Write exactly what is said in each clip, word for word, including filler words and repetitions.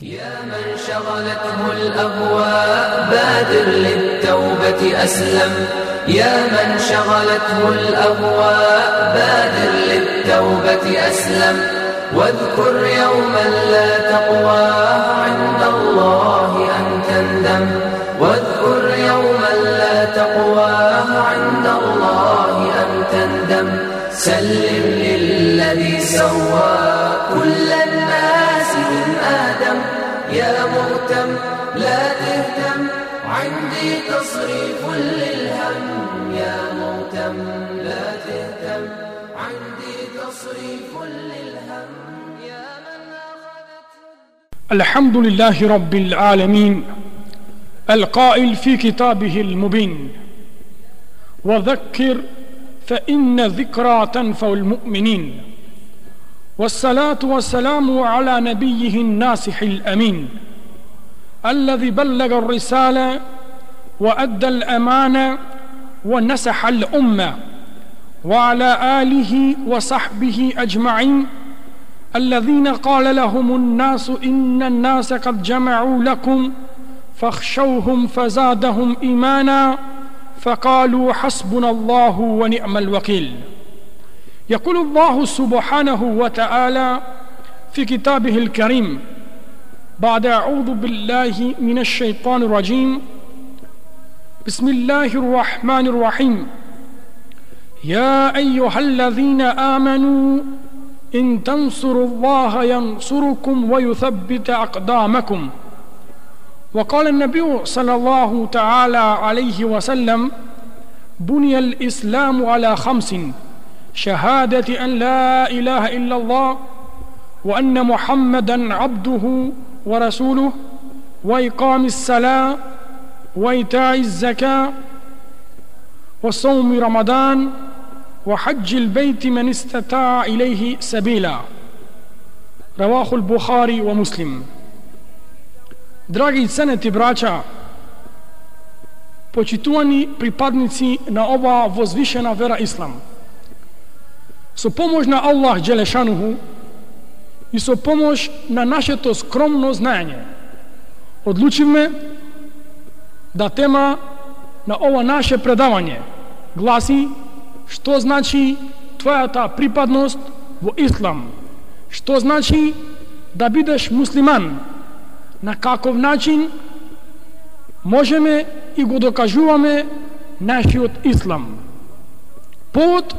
يا من شغلته الأهواء بادر للتوبة أسلم. يا من شغلته الأهواء بادر للتوبة أسلم. واذكر يوما لا تقوى عند الله أن تندم. واذكر يوما لا تقوى عند الله أن تندم. سلم للذي سوى كل الناس من آدم. يا مهتم لا تهتم عندي تصريف للهم. يا مهتم لا تهتم عندي تصريف للهم. يا من أخذت الحمد لله رب العالمين القائل في كتابه المبين وذكر فإن ذكرى تنفع المؤمنين. والصلاة والسلام على نبيه الناصح الأمين الذي بلغ الرسالة وأدى الأمانة ونصح الأمة، وعلى آله وصحبه أجمعين الذين قال لهم الناس إن الناس قد جمعوا لكم فاخشوهم فزادهم إيمانا فقالوا حسبنا الله ونعم الوكيل. يقول الله سبحانه وتعالى في كتابه الكريم بعد أعوذ بالله من الشيطان الرجيم بسم الله الرحمن الرحيم. يا أيها الذين آمنوا إن تنصروا الله ينصركم ويثبت أقدامكم. وقال النبي صلى الله تعالى عليه وسلم بني الإسلام على خمس: شهادة أن لا إله إلا الله وأن محمدا عبده ورسوله وإقام الصلاة وإيتاء الزكاة وصوم رمضان وحج البيت من استطاع إليه سبيلا. رواه البخاري ومسلم. Драги ценети браќа, почитувани припадници на оваа возвишена вера Ислам, со помош на Аллах Джелешануху и со помош на нашето скромно знаење, одлучивме да тема на ова наше предавање гласи што значи твојата припадност во Ислам, што значи да бидеш муслиман, на каков начин можеме и го докажуваме нашиот Ислам. Повод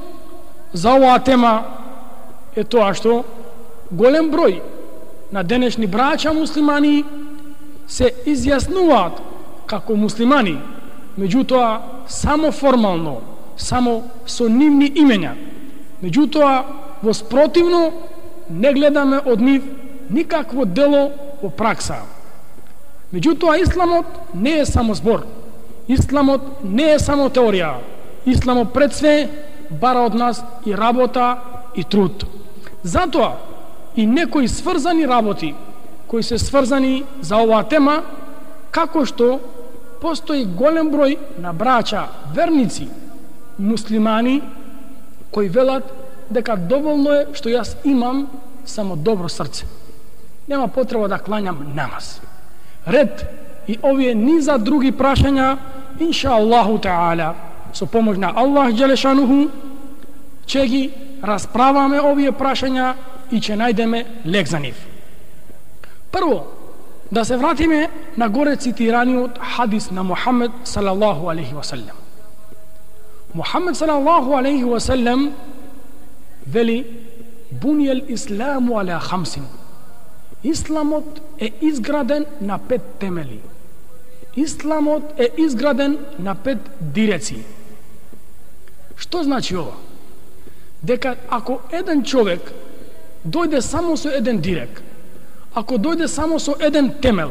за оваа тема е тоа што голем број на денешни браќа муслимани се изјаснуваат како муслимани, меѓутоа само формално, само со нивни имења. Меѓутоа во спротивно не гледаме од нив никакво дело во пракса. Меѓутоа Исламот не е само збор. Исламот не е само теорија. Исламот пред све бара од нас и работа и труд. Затоа и некои сврзани работи кои се сврзани за оваа тема, како што постои голем број на браќа верници муслимани кои велат дека доволно е што јас имам само добро срце, нема потреба да клањам намаз. Ред и овие низа други прашања, инша Аллаху Таala, со помош на Аллах Джелешануху, ќе ги расправаме овие прашања и ќе најдеме лек за нив. Прво, да се вратиме на горе цитираниот хадис на Мухамед салаллаху алейхи ва саллем. Мухамед салаллаху алейхи ва саллем вели: Буниел исламу аля хамсин. Исламот е изграден на пет темели. Исламот е изграден на пет диреци. Што значи ова? Дека ако еден човек дојде само со еден дирек, ако дојде само со еден темел,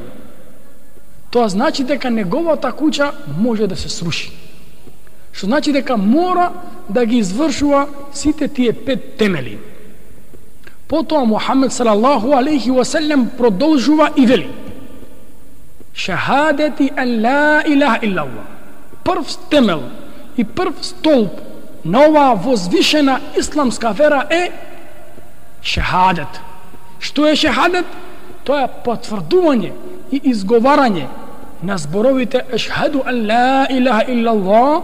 тоа значи дека неговата куќа може да се сруши. Што значи дека мора да ги извршува сите тие пет темели. Потоа Мухамед салаллаху алейхи ва саллем продолжува и вели: Шахадати ан ла илаха иллаллах. Прв темел и прв столб на оваа возвишена исламска вера е шахадет. Што е шахадет? тоа е потврдување и изговарање на зборовите ашхаду ан ла илаха илла Allah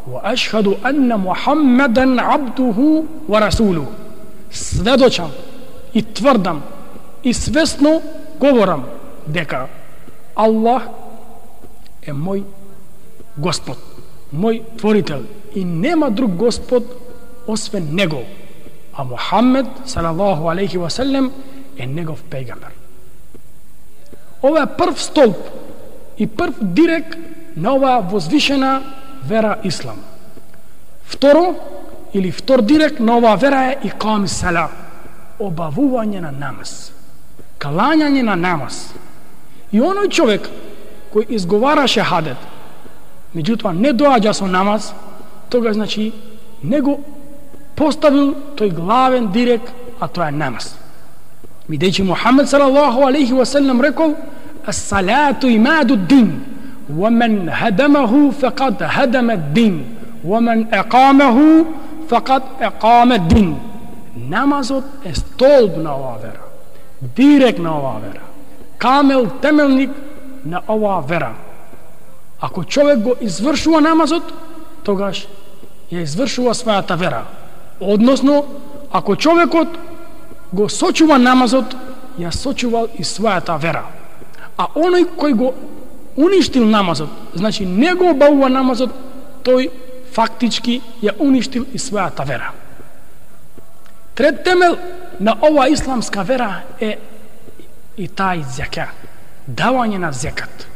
wa ashhadu anna Muhammadan abduhu wa rasuluhu. Сведочам и тврдам и свесно говорам дека Аллах е мој Господ, мој творител и нема друг Господ освен него, а Мухаммед салаллаху алейхи ва салем е негов пејгамбер. Ова е прв столб и прв дирек на оваа возвишена вера Ислам. Второ, или втор дирек на оваа вера е икам сала, обавување на намаз, калањање на намаз. И оној човек кој изговара шехадет, меѓутоа не доаѓа со намаз, тога значи не го поставил тој главен дирек, а тоа е намаз. Бидејќи Мухаммед салаллаху алейхи ва салем рекол: "Ас-салату имаду д-дин, ва мен хадамаху фақад хадама д-дин, ва мен еқамаху фақад еқама д-дин." Намазот е столб на оваа вера, дирек на оваа вера, камел, темелник на оваа вера. Ако човек го извршува намазот, тогаш ја извршува својата вера. Односно, ако човекот го сочува намазот, ја сочувал и својата вера. А оној кој го уништил намазот, значи не го обавува намазот, тој фактички ја уништил и својата вера. Трет темел на ова исламска вера е и тај зека, давање на зекат.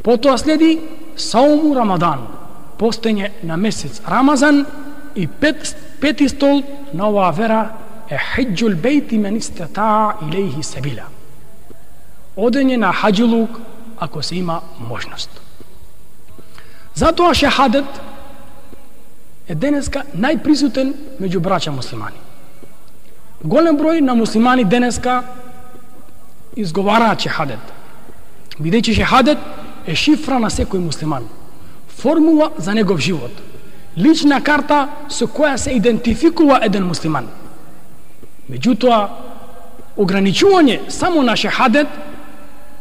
Потоа следи сауму Рамадан, постење на месец Рамазан, и пет, пети стол на оваа вера е хиджул бейти мен истатаа илейхи сабила, одење на хаџилук ако се има можност. Затоа шехадет е денеска најприсутен меѓу браќа муслимани. Голем број на муслимани денеска изговараат шехадет, бидејќи шехадет е шифра на секој муслиман, формула за негов живот, лична карта со која се идентификува еден муслиман. Меѓутоа, ограничување само на шехадет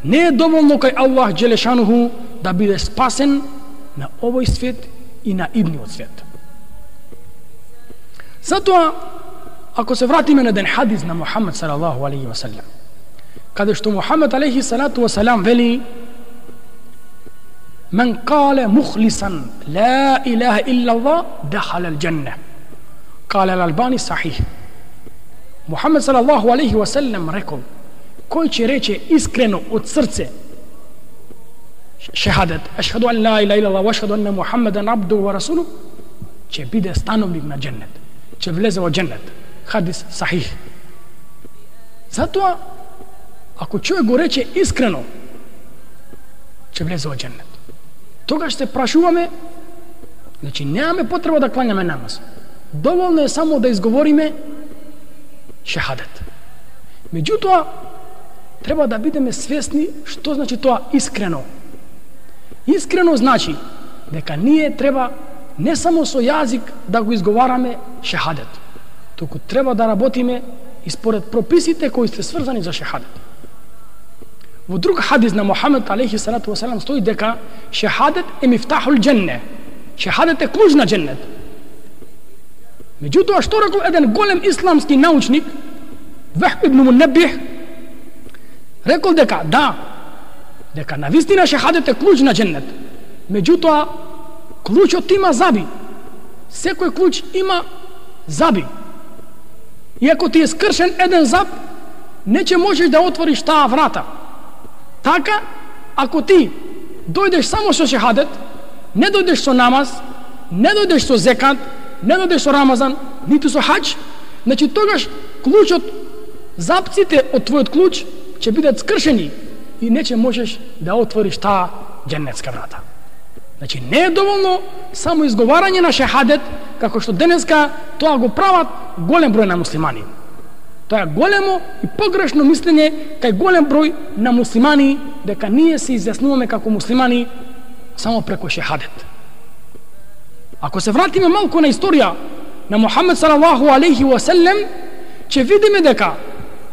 не е доволно кај Аллах Джелешануху да биде спасен на овој свет и на идниот свет. Затоа, ако се вратиме на еден хадис на Мухаммед салаллаху алейхи ва салем, каде што Мухаммед алейхи салату ва салам вели: "Мен кале мухлисан ла илаха илла Allah дахала ал-џанна." Кале ал-Албани сахих. Мухаммед салаллаху алейхи ва салем рекол: кој ќе рече искрено од срце шехадет, ашхаду ан ла илаха илла Allah ва ашхаду анна Мухаммедан абдуху ва расулух, ќе биде становник на џеннет, ќе влезе во џеннет. Хадис сахих. Затоа, ако човек го рече искрено, ќе влезе во џеннет. Тогаш се прашуваме, значи немаме потреба да кланяме намаз. Доволно е само да изговориме шехадет. Меѓутоа, треба да бидеме свесни што значи тоа искрено. Искрено значи дека ние треба не само со јазик да го изговараме шехадет, туку треба да работиме и според прописите кои се сврзани за шехадет. Во друг хадис на Мухаммед алейхи салату ва салам стои дека шехадет е мифтахул џенне. Шехадет е клуч на џеннет. Меѓутоа, што рекол еден голем исламски научник, Вахб ибн Мунаббих, рекол дека да, дека навистина шехадет е клуч на џеннет. Меѓутоа, клучот има заби. Секој клуч има заби. И ако ти е скршен еден заб, не ќе можеш да отвориш таа врата. Така, ако ти дојдеш само со шехадет, не дојдеш со намаз, не дојдеш со зекат, не дојдеш со Рамазан, ниту со хаџ, значи тогаш клучот, запците од твојот клуч ќе бидат скршени и не ќе можеш да отвориш таа џеннетска врата. Значи не е доволно само изговарање на шехадет, како што денеска тоа го прават голем број на муслимани. Тоа е големо и погрешно мислење кај голем број на муслимани дека ние се изјаснуваме како муслимани само преку шехадет. Ако се вратиме малку на историја на Мухаммед салаллаху алейхи ва салем, ќе видиме дека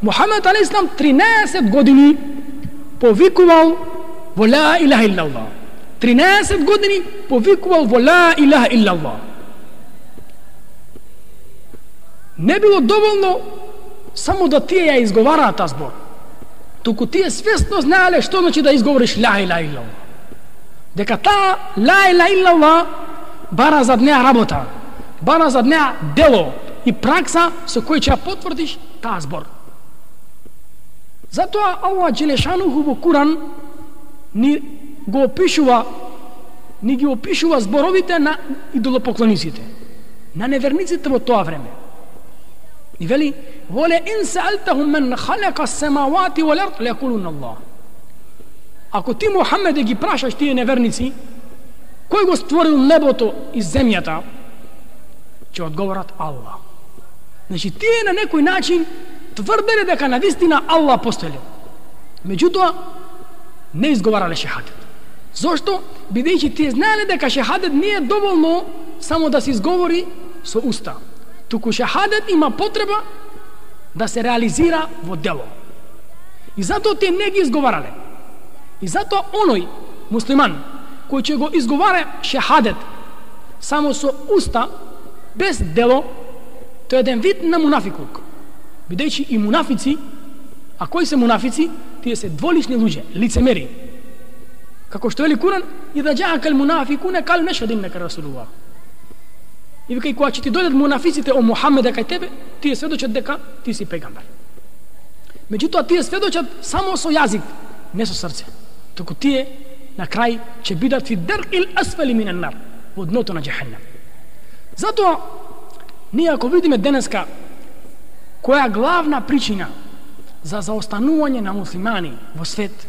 Мухамед алейхи салам тринаесет години повикувал во ла илаха иллаллах. тринаесет години повикувал во ла илаха иллаллах. Не било доволно само да тие ја изговараат таа збор, туку тие свесно знаеле што значи да изговориш ла илаха иллаллах. Дека таа ла илаха иллаллах бара зад неа работа, бара зад неа дело и пракса со кој ќе ја потврдиш таа збор. Затоа Аллах Джелешануху во Куран ни го опишува, ни ги опишува зборовите на идолопоклониците, на неверниците во тоа време. И вели: "Воле ин саалтахум мен халака as-самавати wal ard лајакулуна Аллах." Ако ти, Мухаммеде, ги прашаш тие неверници кој го створил небото и земјата, ќе одговорат Аллах. Значи тие на некој начин тврделе дека навистина Аллах постоеле. Меѓутоа не изговарале шехадет. Зошто? Бидејќи тие знаеле дека шехадет не е доволно само да се изговори со уста, туку шехадет има потреба да се реализира во дело. И затоа тие не ги изговарале. И затоа оној муслиман кој ќе го изговара шехадет само со уста, без дело, тој е еден вид на мунафиклук. Бидејќи и мунафици, а кои се мунафици? Тие се дволични луѓе, лицемери. Како што вели Куран: "Ида џаакал мунафикуна кал нешхаду иннака расулуллах." И вика, и кога ќе ти дојдат мунафиците о Мухаммеде кај тебе, тие сведочат дека ти си пегамбер. Меѓутоа тие сведочат само со јазик, не со срце. Туку тие на крај ќе бидат фи деркил асфали минен нар, во дното на џехеннем. Затоа ние ако видиме денеска која е главна причина за заостанување на муслимани во свет,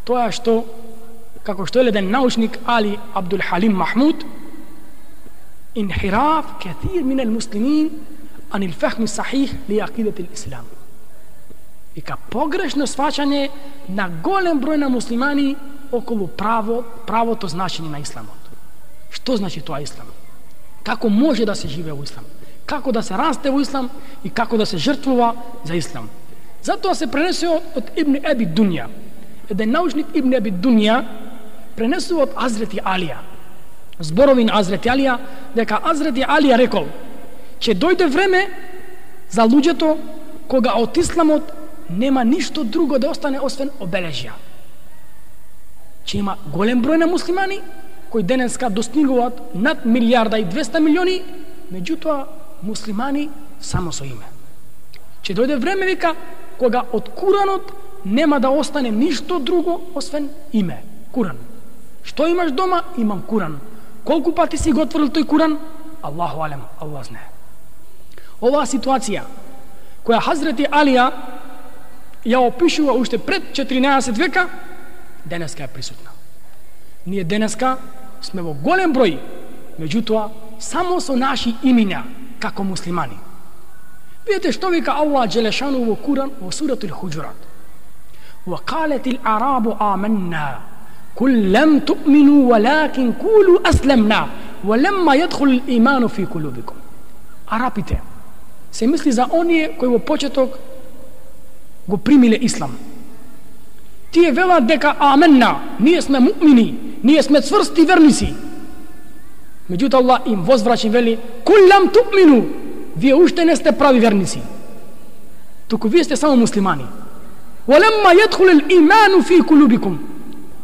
тоа е што, како што е еден научник Али Абдул Халим Махмуд, инхираф каthир мин al-муслимин ан al-фахм сахих ли акидат al-ислам. Вика, погрешно сваќање на голем број на муслимани околу право, правото значење на исламот. Што значи тоа ислам? Како може да се живее во ислам? Како да се расте во ислам и како да се жртвува за ислам? Затоа се пренесува од Ибн Аби Дунја. Еден научник Ибн Аби Дунја пренесува од Азрети Алија. Зборови на Азрети Алија, дека Азрети Алија рекол, че дојде време за луѓето кога од исламот нема ништо друго да остане освен обележја. Че има голем број на муслимани кои денеска достигуваат над милијарда и двеста милиони, меѓутоа муслимани само со име. Че дојде време, вика, кога од Куранот нема да остане ништо друго освен име. Куран. Што имаш дома? Имам Куран. Колку пати си го отворил тој Куран? Аллаху алем, Аллах знае. Оваа ситуација која Хазрети Алија ја опишува уште пред четиринаесет века, денеска е присутна. Ние денеска сме во голем број, меѓутоа само со наши имиња како муслимани. Видете што вика Аллах Джелешану во Куран во суратул Хуџурат. وَقَالَتِ الْأَعْرَابُ آمَنَّا قُلْ لَمْ تُؤْمِنُوا وَلَكِنْ قُولُوا أَسْلَمْنَا وَلَمَّا يَدْخُلِ الْإِيمَانُ فِي قُلُوبِكُمْ. Арапите се мисли за оние кои во почеток го примиле ислам. Тие велат дека аменна, ние сме муъмини, ние сме цврсти верници. Меѓутоа Аллах им возврачи вели: "Кул лам туъмину", вие уште не сте прави верници. Туку вие сте само муслимани. "Валемма јадхул ал-иману фи кулубикум",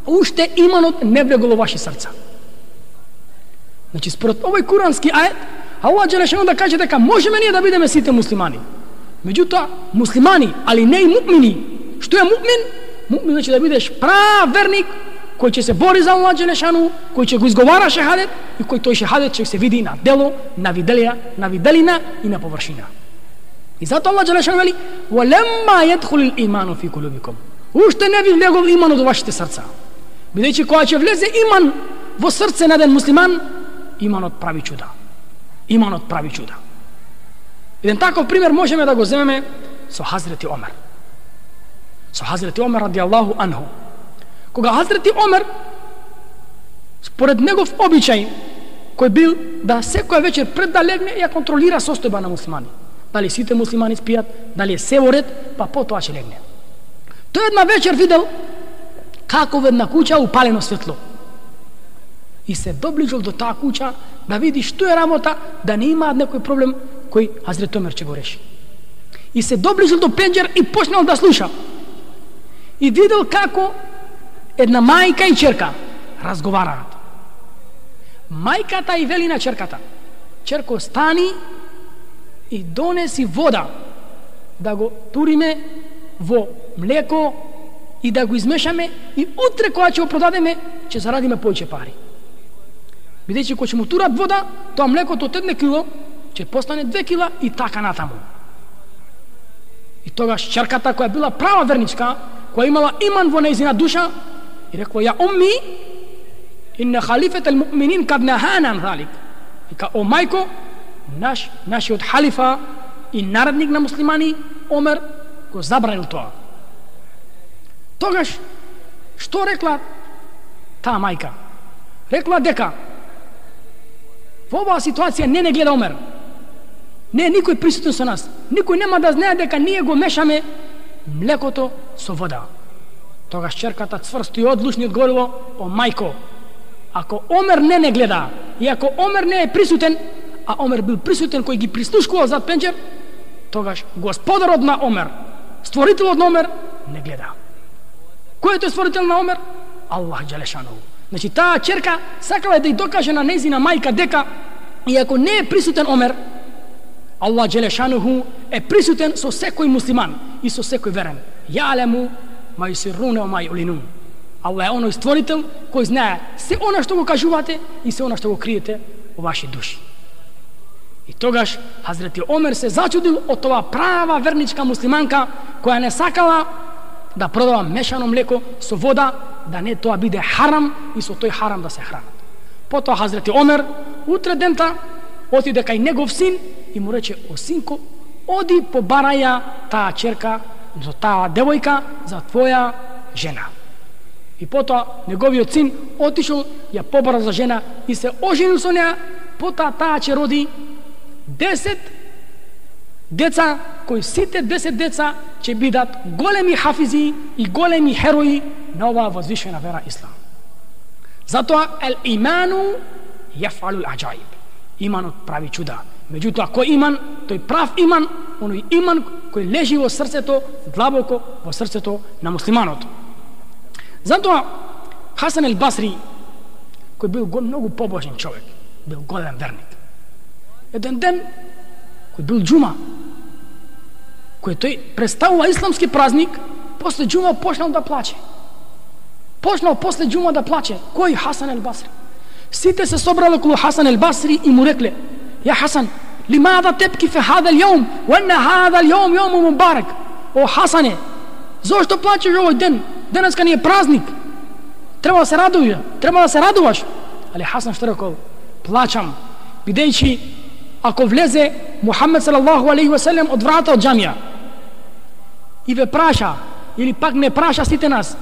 уште иманот не влегол во ваши срца. Значи според овој курански ајет, Аллах Джелешану да каже дека можеме ние да бидеме сите муслимани. Меѓутоа муслимани, али не и муъмини. Што е муъмин? Муъмин значи да бидеш прав верник, кој ќе се бори за Аллах Джелешану, кој ќе го изговара шехадет и кој тој шехадет ќе се види на дело, на виделија, на виделина и на површина. И затоа Аллах Джелешану вели: "Валемма јадхул ал-иману фи кулубикум", уште не ви влегол иманот во вашите срца. Бидејќи кога ќе влезе иман во срце на еден муслиман, иманот прави чуда. Иманот прави чуда. Еден таков пример можеме да го земеме со Хазрети Омер. Со Хазрети Омер ради Аллаху анху. Кога Хазрети Омер, според негов обичај, кој бил да секоја вечер пред да легне ја контролира состојба на муслимани. дали сите муслимани спијат, дали е се во ред, па потоа ќе легне. Тој една вечер видел како во една куќа упалено светло. И се доближил до таа куќа да види што е работа, да не има некој проблем кој Хазрет Омер ќе го реши. И се доближил до пенџер и почнал да слуша. И видел како една мајка и черка разговараат. Мајката и вели на черката: черко, стани и донеси вода, да го туриме во млеко и да го измешаме, и утре кога ќе го продадеме, ќе зарадиме повеќе пари. Бидејќи кога ќе му турат вода, тоа млекото од едно кило ќе постане две кила и така натаму. И тогаш черката, која била права верничка, која имала иман во нејзина душа, и рекла: ја умми, инна халифет ал муъминин кад нахана залик. Вика: о мајко, наш нашиот халифа и наредник на муслимани Омер го забранил тоа. Тогаш што рекла таа мајка? Рекла дека во оваа ситуација не не гледа Омер. Не е никој присутен со нас. Никој нема да знае дека ние го мешаме млекото со вода. Тогаш черката цврсто и одлучно одговорила: о мајко, ако Омер не не гледа и ако Омер не е присутен, а Омер бил присутен кој ги прислушкувал зад пенџер, тогаш господарот на Омер, створителот на Омер, не гледа. Кој е тој створител на Омер? Аллах џелешану. Значи таа черка сакала да ја докаже на нејзина мајка дека и ако не е присутен Омер, Аллах џелешану е присутен со секој муслиман и со секој верен. Јалему ма юсирруна ма юлинун. Аллах е оној створител кој знае се она што го кажувате и се она што го криете во ваши души. И тогаш Хазрети Омер се зачудил од тоа права верничка муслиманка која не сакала да продава мешано млеко со вода, да не тоа биде харам и со тој харам да се хранат. Потоа Хазрети Омер утре дента отиде кај негов син и му рече: о синко, оди побараја таа черка, за таа девојка, за твоја жена. И потоа неговиот син отишол, ја побара за жена и се оженил со неа. Потоа таа ќе роди десет деца, кои сите десет деца ќе бидат големи хафизи и големи херои на оваа возвишена вера Ислам. Затоа ел иману јафалул аджаиб. Иманот прави чуда. Меѓутоа, кој иман, тој прав иман, оној иман кој лежи во срцето, длабоко во срцето на муслиманот. Затоа Хасан ел Басри, кој бил многу побожен човек, бил голем верник. Еден ден, кој бил џума, кој тој представува исламски празник, после џума почнал да плаче. Почнал после џума да плаче. Кој? Хасан ел Басри. Сите се собрали околу Хасан ел Басри и му рекле: ја Хасан, лимада тепки фе хадал јом, ванна хадал јом јому мубарак. О Хасане, зошто плачеш овој ден? Денеска ни е празник. Треба да се радуваш, треба да се радуваш. Али Хасан што рекол? Плачам, бидејќи ако влезе Мухамед салаллаху алейхи ве селем од врата од џамија и ве праша, или пак не праша сите нас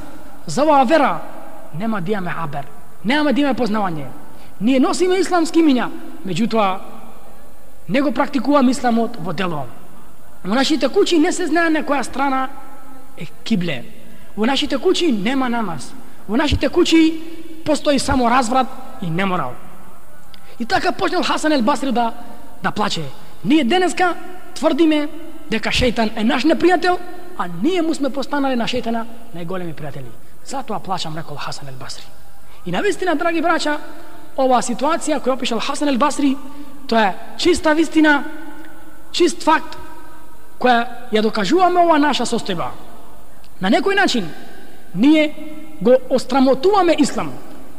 за оваа вера, нема да имаме хабер, нема да имаме познавање. Ние носиме исламски имиња, меѓутоа не го практикуваме исламот во дело. Во нашите куќи не се знае на која страна е кибле. Во нашите куќи нема намаз. Во нашите куќи постои само разврат и неморал. И така почнал Хасан ел Басри да да плаче. Ние денеска тврдиме дека шејтан е наш непријател, а ние му сме постанали на шејтана најголеми пријатели. Затоа плачам, рекол Хасан ел Басри. И навистина, драги браќа, оваа ситуација која опишал Хасан ел Басри, тоа е чиста вистина, чист факт, која ја докажуваме ова наша состојба. На некој начин, ние го острамотуваме ислам,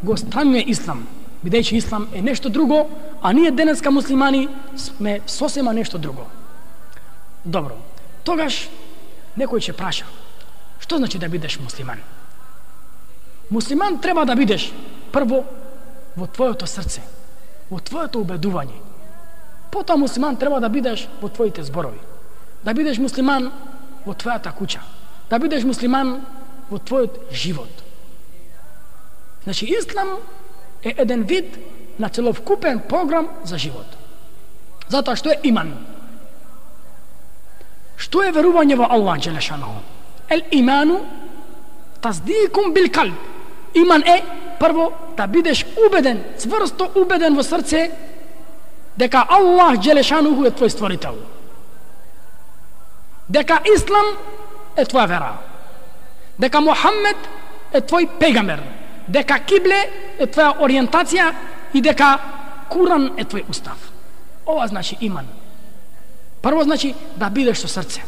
го странјаме ислам, бидејќи ислам е нешто друго, а ние денеска муслимани сме сосема нешто друго. Добро, тогаш некој ќе праша: што значи да бидеш муслиман? Муслиман треба да бидеш прво во твоето срце, во твоето убедување. Потоа муслиман треба да бидеш во твоите зборови. Да бидеш муслиман во твојата куќа. Да бидеш муслиман во твојот живот. Значи, ислам е еден вид на целокупен програм за живот. Затоа што е иман? Што е верување во Аллах джелешану? Ел иману таздикум бил калб. Иман е прво да бидеш убеден, цврсто убеден во срце дека Аллах джелешану е твој створител. Дека Ислам е твоја вера. Дека Мухаммед е твој пегамбер. Дека кибле е твоја ориентација и дека Куран е твој устав. Ова значи иман. Прво значи да бидеш со срце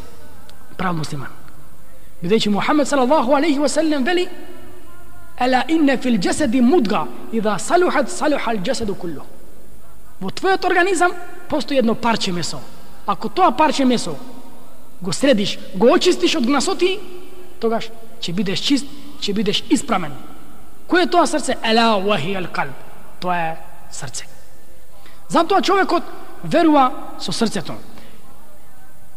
прав муслиман. Бидејќи Мухаммед салаллаху алейхи ва салем вели: "Ала инна фил джасади мудга, идha салухат салуха ал джасаду куллу." Во твојот организам постои едно парче месо. Ако тоа парче месо го средиш, го очистиш од гнасоти, тогаш ќе бидеш чист, ќе бидеш испрамен. Кој е тоа срце? Ала вахи ал калб. Тоа е срце. Затоа човекот верува со срцето.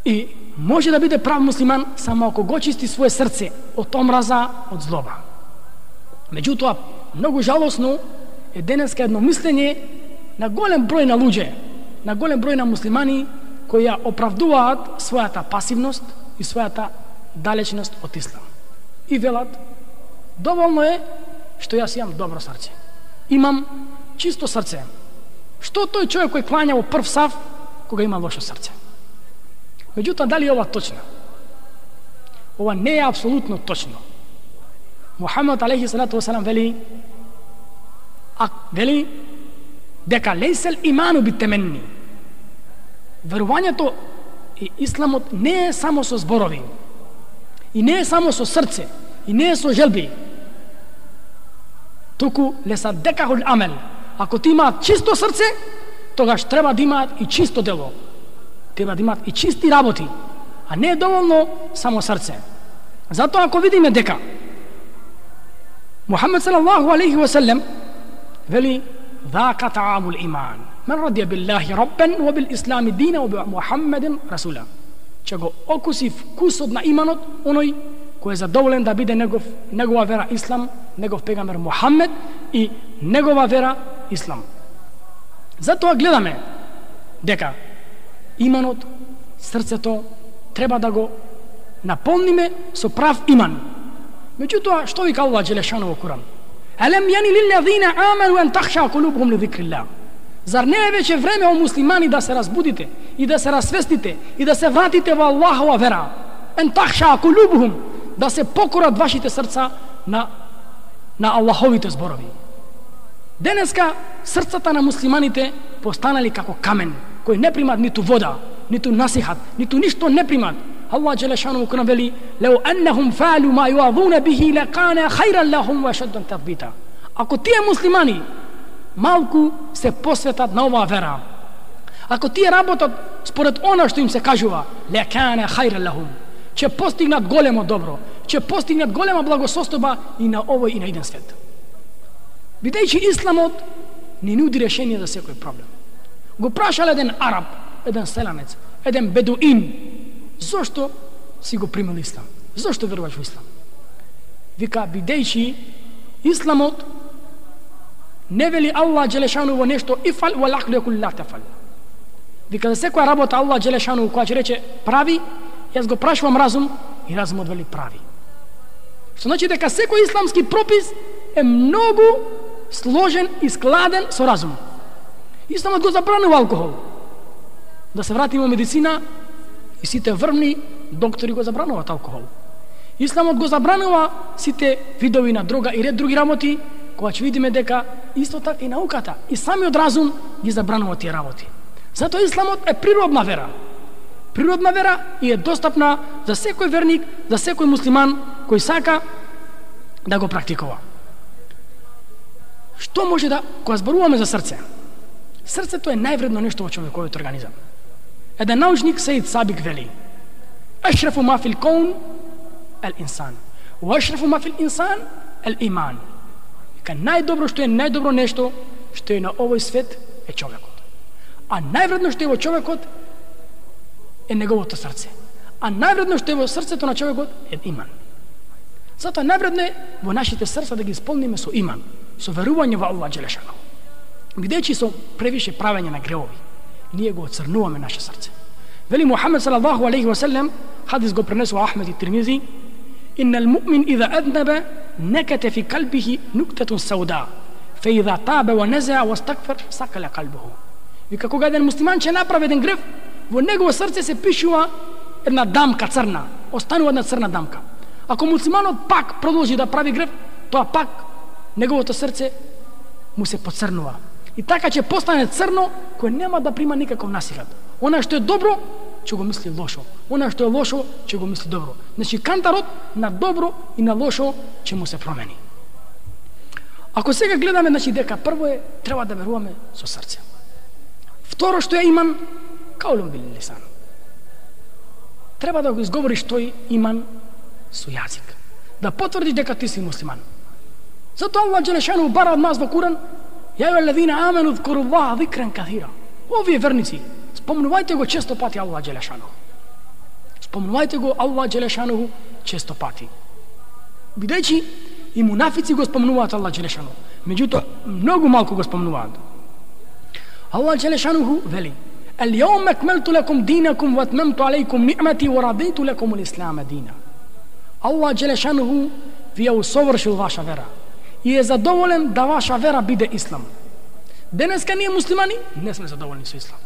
И може да биде прав муслиман само ако го чисти свое срце од омраза, од злоба. Меѓутоа, многу жалосно е денеска едно мислење на голем број на луѓе, на голем број на муслимани кои ја оправдуваат својата пасивност и својата далечност од ислам. И велат: доволно е што јас имам добро срце. Имам чисто срце. Што тој човек кој клања во прв саф кога има лошо срце? Меѓутоа, дали е ова точно? Ова не е апсолутно точно. Мухаммед алейхи салату васалам вели, а вели дека лейсел иману битеменни. Верувањето и исламот не е само со зборови, и не е само со срце, и не е со желби. Туку лесадекахул амел. Ако ти имаат чисто срце, тогаш треба да имаат и чисто дело. Треба да имаат и чисти работи, а не е доволно само срце. Затоа ако видиме дека Мухаммед салаллаху алейхи ва салем вели: "ذاك طعام الإيمان من رضي بالله ربا وبالإسلام دينا وبمحمد رسولا." Че го окуси вкусот на иманот оној кој е задоволен да биде негов, негова вера ислам, негов пегамбер Мухаммед и негова вера ислам. Затоа гледаме дека иманот, срцето треба да го наполниме со прав иман. Меѓутоа, што вика Аллах джелешану во Куран? "Алем яни лиллазина аману ан тахша кулубухум лизикрилlah." Зар не е веќе време, о муслимани, да се разбудите и да се расвестите и да се вратите во Аллахова вера? Ан тахша кулубухум, да се покорат вашите срца на на Аллаховите зборови. Денеска срцата на муслиманите постанали како камен, кој не примат ниту вода, ниту насихат, ниту ништо не примат. Allah джелешану кона вели: "Лау аннахум фалу ма юазуна бихи лакана хајран лахум ва шаддан татбита." Ако тие муслимани малку се посветат на оваа вера, ако тие работат според она што им се кажува, лакана хајран лахум, ќе постигнат големо добро, ќе постигнат голема благосостојба и на овој и на иден свет. Бидејќи исламот не нуди решение за секој проблем. Го прашал еден араб, еден селанец, еден бедуин: "Зошто си го примил ислам? Зошто веруваш во ислам?" Вика: "Бидејќи исламот не вели Аллах джелешану во нешто ифал ва лаклу якул ла тафал." Вика: "За секоја работа Аллах джелешану која ќе рече прави, јас го прашувам разум и разумот вели прави." Што значи дека секој исламски пропис е многу сложен и складен со разум. Исламот го забранува алкохол. Да се вратиме во медицина, и сите врвни доктори го забрануваат алкохол. Исламот го забранува сите видови на дрога и ред други работи, кога ќе видиме дека исто така и науката и самиот разум ги забранува тие работи. Затоа исламот е природна вера. Природна вера и е достапна за секој верник, за секој муслиман кој сака да го практикува. Што може да, кога зборуваме за срце? Срцето е највредно нешто во човековиот организам. Еден научник Сеид Сабик вели: "Ашрафу ма фил каун ал инсан, ва ашрафу ма фил инсан ал иман." Ка најдобро што е најдобро нешто што е на овој свет е човекот. А највредно што е во човекот е неговото срце. А највредно што е во срцето на човекот е иман. Затоа највредно е во нашите срца да ги исполниме со иман, со верување во Аллах джелешану. Бидејќи со превише правење на гревови, ние го оцрнуваме наше срце. Вели Мухамед салаллаху алейхи ва саллем, хадис го пренесува Ахмед и Тирмизи: "Иннал муъмин иза аднаба наката фи калбихи нуктатун сауда, фа иза таба ва наза ва стагфар сакала калбуху." Вика, кога еден муслиман ќе направи еден грев, во негово срце се пишува една дамка црна, останува една црна дамка. Ако муслиманот пак продолжи да прави грев, тоа пак неговото срце му се поцрнува. И така ќе постане црно, кој нема да прима никаков насилат. Она што е добро, ќе го мисли лошо. Она што е лошо, ќе го мисли добро. Значи кантарот на добро и на лошо ќе му се промени. Ако сега гледаме, значи дека прво е треба да веруваме со срце. Второ што е иман, каулун бил лисан. Треба да го изговориш тој иман со јазик. Да потврдиш дека ти си муслиман. Затоа Аллах џелешану бара од нас во Куран: "Ја ајуҳаллазина амену ذкуруллаха ذикран касира." Овие верници, спомнувајте го често пати Аллах џелешану. Спомнувајте го Аллах џелешану често пати. Бидејќи и мунафици го спомнуваат Аллах џелешану, меѓутоа многу малку го спомнуваат. Аллах џелешану вели: "Ал-јаума акмелту лакум динакум ва атмамту алейкум ниъмати ва радиту лакум ал-ислама дина." Аллах џелешану ви ја усовршил ваша вера и е задоволен да ваша вера биде ислам. Денеска ние муслимани не сме задоволни со ислам.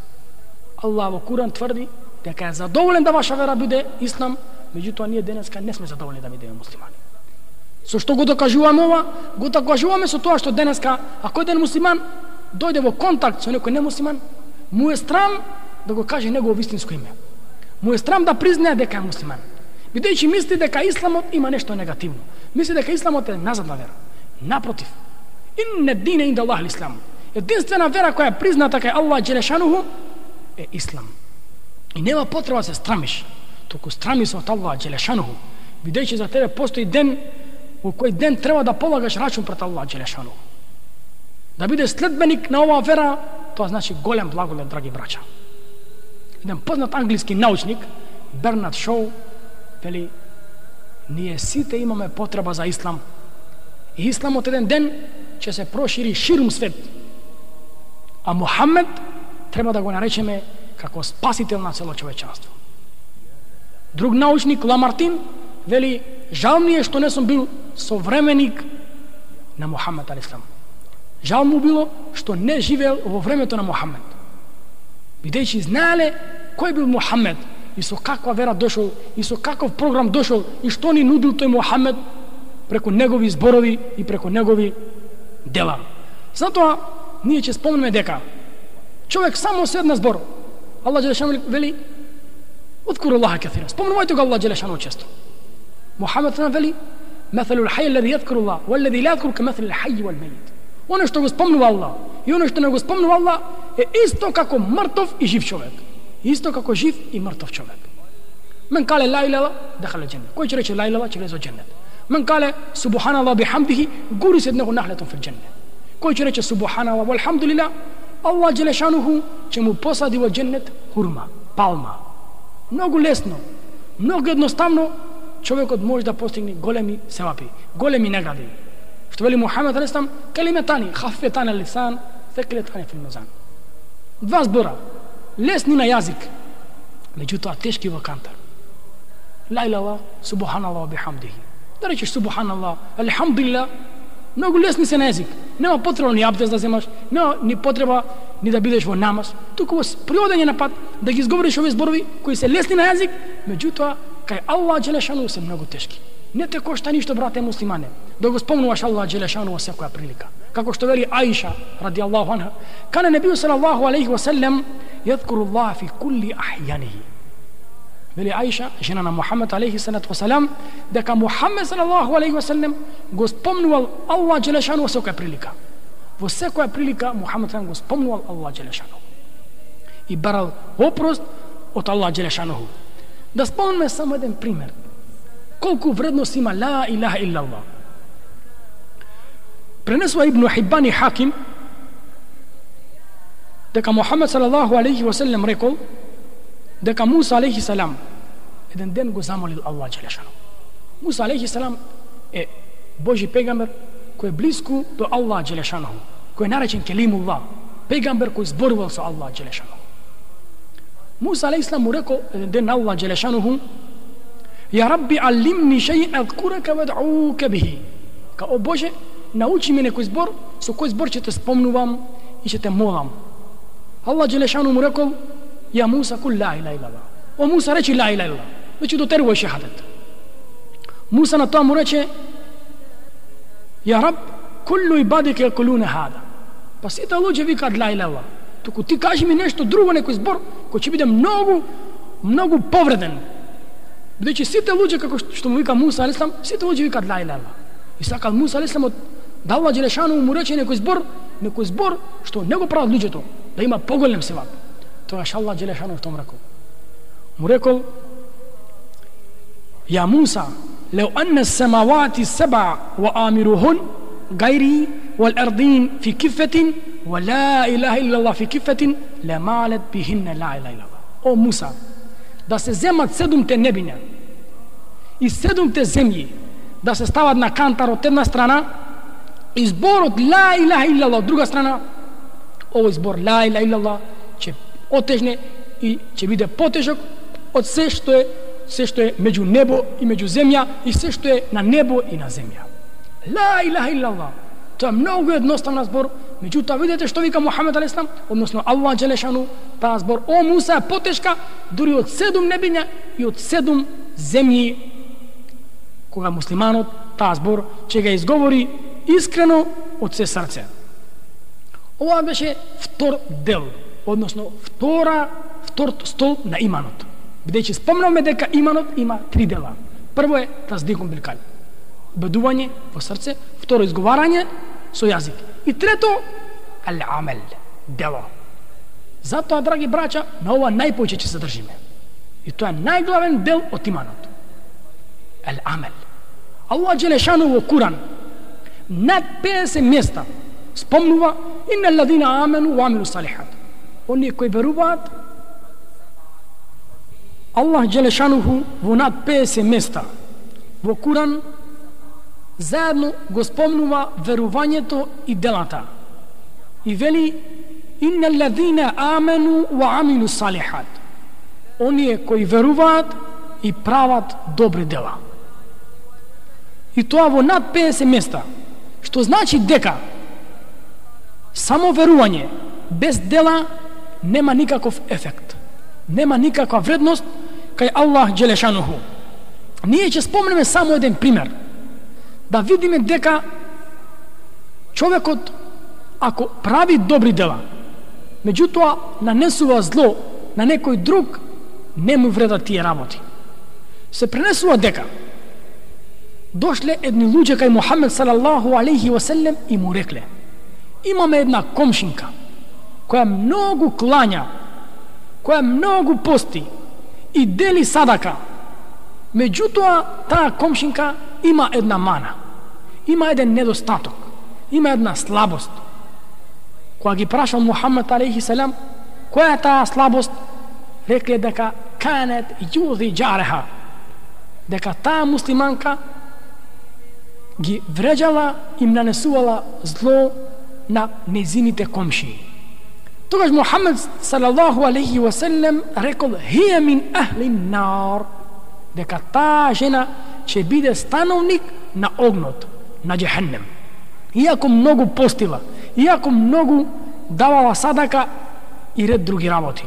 Аллах во Куран тврди дека е задоволен да ваша вера биде ислам, меѓутоа ние денеска не сме задоволни да бидеме муслимани. Со што го докажуваме ова? Го докажуваме со тоа што денеска, ако еден муслиман дојде во контакт со некој немуслиман, му е страм да го каже негово вистинско име. Му е страм да признае дека е муслиман. Бидејќи мисли дека исламот има нешто негативно. Мисли дека исламот е назадна вера. Напротив, инна дина инда Аллах l'Ислам. Единствена вера која е призната кај Аллах џелешануху е ислам. И нема потреба да се страмиш, туку страми се од Аллах џелешануху, бидејќи за тебе постои ден во кој ден треба да полагаш рачун пред Аллах џелешануху. Да бидеш следбеник на оваа вера, тоа значи голем благолет, драги браќа. Еден познат англиски научник, Бернард Шоу, вели: "Ние сите имаме потреба за ислам. И исламот еден ден ќе се прошири ширум свет. А Мухамед треба да го наречеме како спасител на цело човечанство." Друг научник, Ламартин, вели: "Жал ми е што не сум бил современик на Мухамед алейхиссалам. Жал му било што не живеел во времето на Мухамед. Бидејќи знаеле кој бил Мухамед и со каква вера дошол и со каков програм дошол и што ни нудил тој Мухамед преку негови зборови и преку негови дела. Затоа ние ќе спомнеме дека човек само со една збор, Аллах џелешану вели: "Удкуру Аллаха касира." Спомнувајте го Аллах џелешану често. Мухамед вели: "Матhalul hayy alladhi yadhkuru Allah walladhi la yadhkuru kamathali al-hayy wal-mayyit." Оно што го спомнува Аллах и оно што не го спомнува Аллах е исто како мртов и жив човек. Исто како жив и мртов човек. Мен кале ла илаха дахала џеннет. Кој ќе рече ла илаха ќе влезе во џеннет. Мен кале субханаллах бихамдихи гурисет него нахлетун фил џеннет. Кој ќе рече субханаллах валхамдулилlah, Аллах џелешануху ќе му посади во џеннет хурма, палма. Многу лесно, многу едноставно човекот може да постигне големи севапи, големи награди. Што вели Мухамед алейхиссалам: "Калиметани хаффетани ал-лисан, тhaqilatani fil mizan." Два збора, лесни на јазик, меѓутоа тешки во кантар. Ла илаха, субханаллах бихамдихи. Да речеш субханаллах, алхамдулилlah, многу лесни се на јазик. Нема потреба ни абдест да земаш, нема ни потреба ни да бидеш во намаз, туку во приодење на пат да ги изговориш овие зборови кои се лесни на јазик, меѓутоа кај Аллах џелешану се многу тешки. Не те кошта ништо, брате муслимане, да го спомнуваш Аллах џелешану во секоја прилика. Како што вели Аиша ради Аллаху анха: "Кане небију салаллаху алейхи ва саллем јадкуру Аллаха фи кулли ахјанихи." Вели Аиша, жена на Мухамед алейхи салату ва салам, дека Мухамед салаллаху алейхи ва саллем го спомнувал Аллах џелешану во секоја прилика. Во секоја прилика Мухамед го спомнувал Аллах џелешану и барал опрост од Аллах џелешану. Да спомнеме само еден пример. Колку вредност има ла илаха иллаллах. Пренесува Ибн Хиббан и Хаким дека Мухамед салаллаху алейхи ва саллем рекол дека Муса алейхи салам еден ден го замолил Аллах џелешану. Муса алейхи салам е Божи пегамбер кој е близко до Аллах џелешану, кој е наречен Келимуллах, пегамбер кој зборувал со Аллах џелешану. Муса алейхиссалам му рекол еден ден на Аллах джелешануху: "Я Рабби, алимни шеј'ен адкурека вад'ука бихи." Ка, о Боже, научи ме некој збор, со кој збор ќе те спомнувам и ќе те молам. Аллах джелешану му рекол: "Я Муса, кул ла илаха илlallah." О Муса, речи ла илаха илlallah. Веќе дотерувај шехадет. Муса на тоа му рече: "Я Раб, куллу ибадика якулуна хада." Па сите луѓе викаат ла илаха илlallah. Туку ти кажи ми нешто друго, некој збор кој ќе биде многу, многу повреден. Бидејќи сите луѓе, како што му вика Муса алейхиссалам, сите луѓе викаат ла илаха илlallah. И сакал Муса алейхиссалам да Аллах джелешану му рече некој збор, некој збор што не го прават луѓето, да има поголем севап. Тогаш Аллах джелешану што му рекол. Му рекол: "Я Муса, леу анна самавати саба ва амирухун гайри вал ардин фи кифетин ва ла илаха илlallah фи кифетин лемалет бихинна ла илаха илlallah." О Муса, да се земат седумте небиња и седумте земји, да се стават на кантар од една страна и зборот ла илаха илlallah од друга страна, овој збор ла илаха илlallah ќе отежне и ќе биде потежок од се што е се што е меѓу небо и меѓу земја и се што е на небо и на земја. Ла илаха илlallah. Тоа е многу едноставен збор, меѓутоа видете што вика Мухамед алейхиссалам, односно Аллах джелешану, таа збор о Муса е потешка дури од седум небиња и од седум земји. Кога муслиманот таа збор ќе ga изговори искрено од се срце. Ова беше втор дел, односно втора, втор столб на иманот. Бидејќи спомнавме дека иманот има три дела. Прво е таздикун бил калб, убедување во срце, второ изговарање со јазик и трето ал-амел, дело. Затоа, драги браќа, на ова најповеќе ќе се држиме. И тоа е најглавен дел од иманот. Ал-амел. Аллах джелешану во Куран над педесет места спомнува инна алладина амену ва амилу салихат. Оние кои веруваат, Аллах джелешануху во над педесет места во Куран заедно го спомнува верувањето и делата. И вели инна алладина амену ва амилу салихат. Оние кои веруваат и прават добри дела. И тоа во над педесет места, што значи дека само верување без дела нема никаков ефект, нема никаква вредност кај Аллах джелешануху. Ние ќе спомнеме само еден пример, да видиме дека човекот ако прави добри дела, меѓутоа нанесува зло на некој друг, не му вредат тие работи. Се пренесува дека дошле едни луѓе кај Мухамед салаллаху алейхи ва селем и му рекле: имаме една комшинка која многу клања, која многу пости и дели садака, меѓутоа таа комшинка има една мана, има еден недостаток, има една слабост. Кога ги прашал Мухамед алейхи селам која е таа слабост, рекле дека канет јузи џареха, дека таа муслиманка ги вреđала и им нанесувала зло на незините комшии. Тогаш Мухамед салаллаху алейхи ва селем рекол: хија мин ахли нар, дека таа жена ќе биде становник на огнот, на џехеннем. Иако многу постила, иако многу давала садака и ред други работи.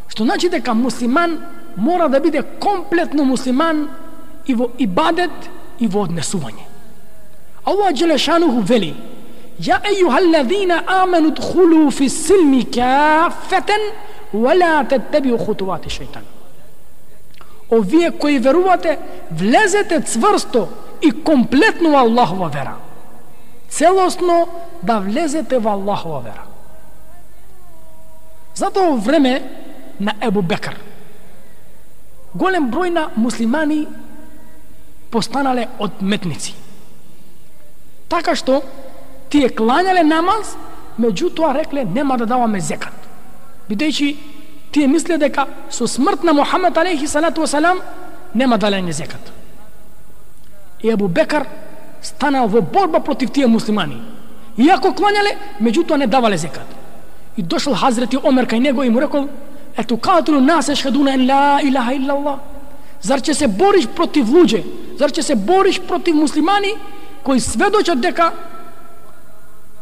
Што значи дека муслиман мора да биде комплетно муслиман и во ибадет и во однесување. Аллах джелешануху вели: ја ејухалладина амену дхулу фи силми кафетен вала теттебиу хутувати шејтан. О вие кои верувате, влезете цврсто и комплетно во Аллахова вера. Целосно да влезете во Аллахова вера. Затоа во време на Ебу Бекр голем број на муслимани постанале одметници. Така што тие клањале намаз, меѓутоа рекле нема да даваме зекат. Бидејќи тие мисле дека со смрт на Мухамед алейхи салату ва салам нема далење зекат. И Ебу Бекр станал во борба против тие муслимани. Иако клањале, меѓутоа не давале зекат. И дошол Хазрети Омер кај него и му рекол: Ето катулу нас ешхедуна ен ла илаха иллаллах. Зар ќе се бориш против луѓе? Зар ќе се бориш против муслимани кои сведочат дека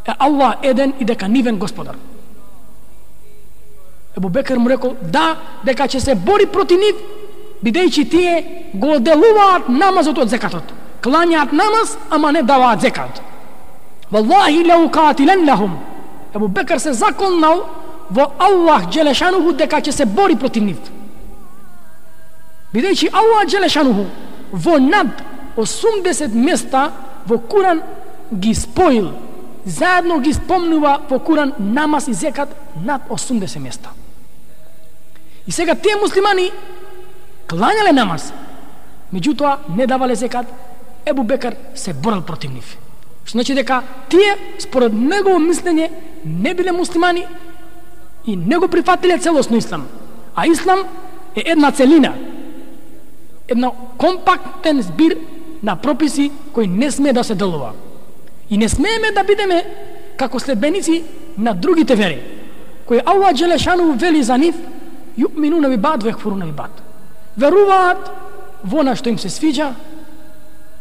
е Аллах еден и дека нивен господар? Ебу Бекер му рекол да, дека ќе се бори против нив, бидејќи тие го делуваат намазот од зекатот. Клањаат намаз, ама не даваат зекат. Валлахи лау катилен лахум. Ебу Бекер се заколнал во Аллах Джелешануху дека ќе се бори против нив. Бидејќи Аллах Джелешануху во над осумдесет места во Куран ги споил, заедно ги спомнува во Куран намаз и зекат над осумдесет места. И сега тие муслимани клањале намаз, меѓутоа не давале зекат. Ебу Бекер се борел против нив. Што значи дека тие, според негово мислење, не биле муслимани и не го прифатиле целосно ислам. А ислам е една целина, една компактен збир на прописи кои не смее да се делува. И не смееме да бидеме како следбеници на другите вери, кои Аллах Джелешану вели за нив, ю'минуна би бад, векфуруна би бад. Веруваат во она што им се свиѓа,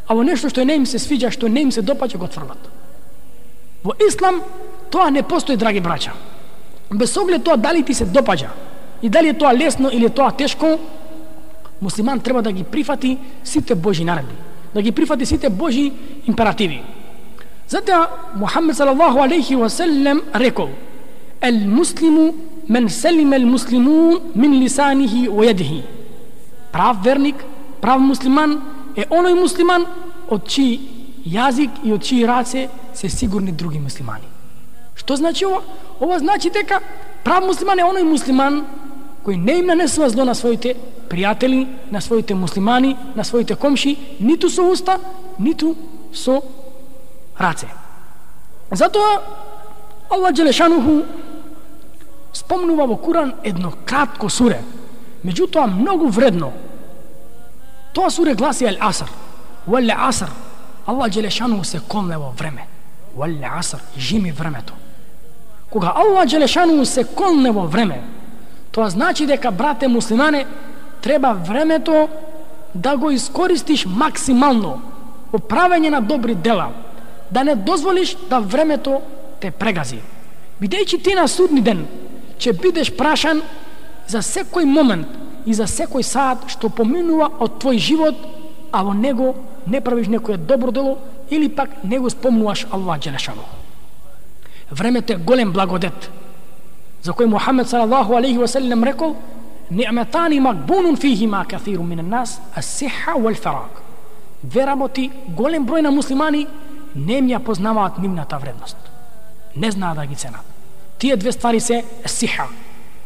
а во нешто што не им се свиѓа, што не им се допаѓа, го тврдат. Во ислам тоа не постои, драги браќа. Без оглед тоа дали ти се допаѓа и дали е тоа лесно или тоа тешко, муслиман треба да ги прифати сите Божи наредби, да ги прифати сите Божи императиви. Затоа Мухаммед салаллаху алейхи ва селем рекол: "Ел муслиму мен селиме ел муслимун мин лисанихи ва јадихи." Прав верник, прав муслиман е оној муслиман од чиј јазик и од чиј раце се сигурни други муслимани. Што значи ова? Ова значи дека прав муслиман е оној муслиман кој не им нанесува зло на своите пријатели, на своите муслимани, на своите комши, ниту со уста, ниту со раце. Затоа Аллах Джелешануху спомнува во Куран едно кратко суре, меѓутоа многу вредно. Тоа суре гласи Ел Аср. Вал Аср. Аллах Джелешануху се колне во време. Вал Аср, жими времето. Кога Аллах Джелешануху се колне во време, тоа значи дека, брате муслимане, треба времето да го искористиш максимално во правење на добри дела, да не дозволиш да времето те прегази. Бидејќи ти на судни ден ќе бидеш прашан за секој момент и за секој саат што поминува од твој живот, а во него не правиш некое добро дело или пак не го спомнуваш Аллах Джелешану. Времето е голем благодет, за кој Мухаммед салаллаху алейхи ва селем рекол: "Ни'матани макбунун фихима каthирун мин нас, ас-сиха вал фараг." Две работи голем број на муслимани не ја познаваат нивната вредност. Не знаат да ги ценат. Тие две ствари се сиха.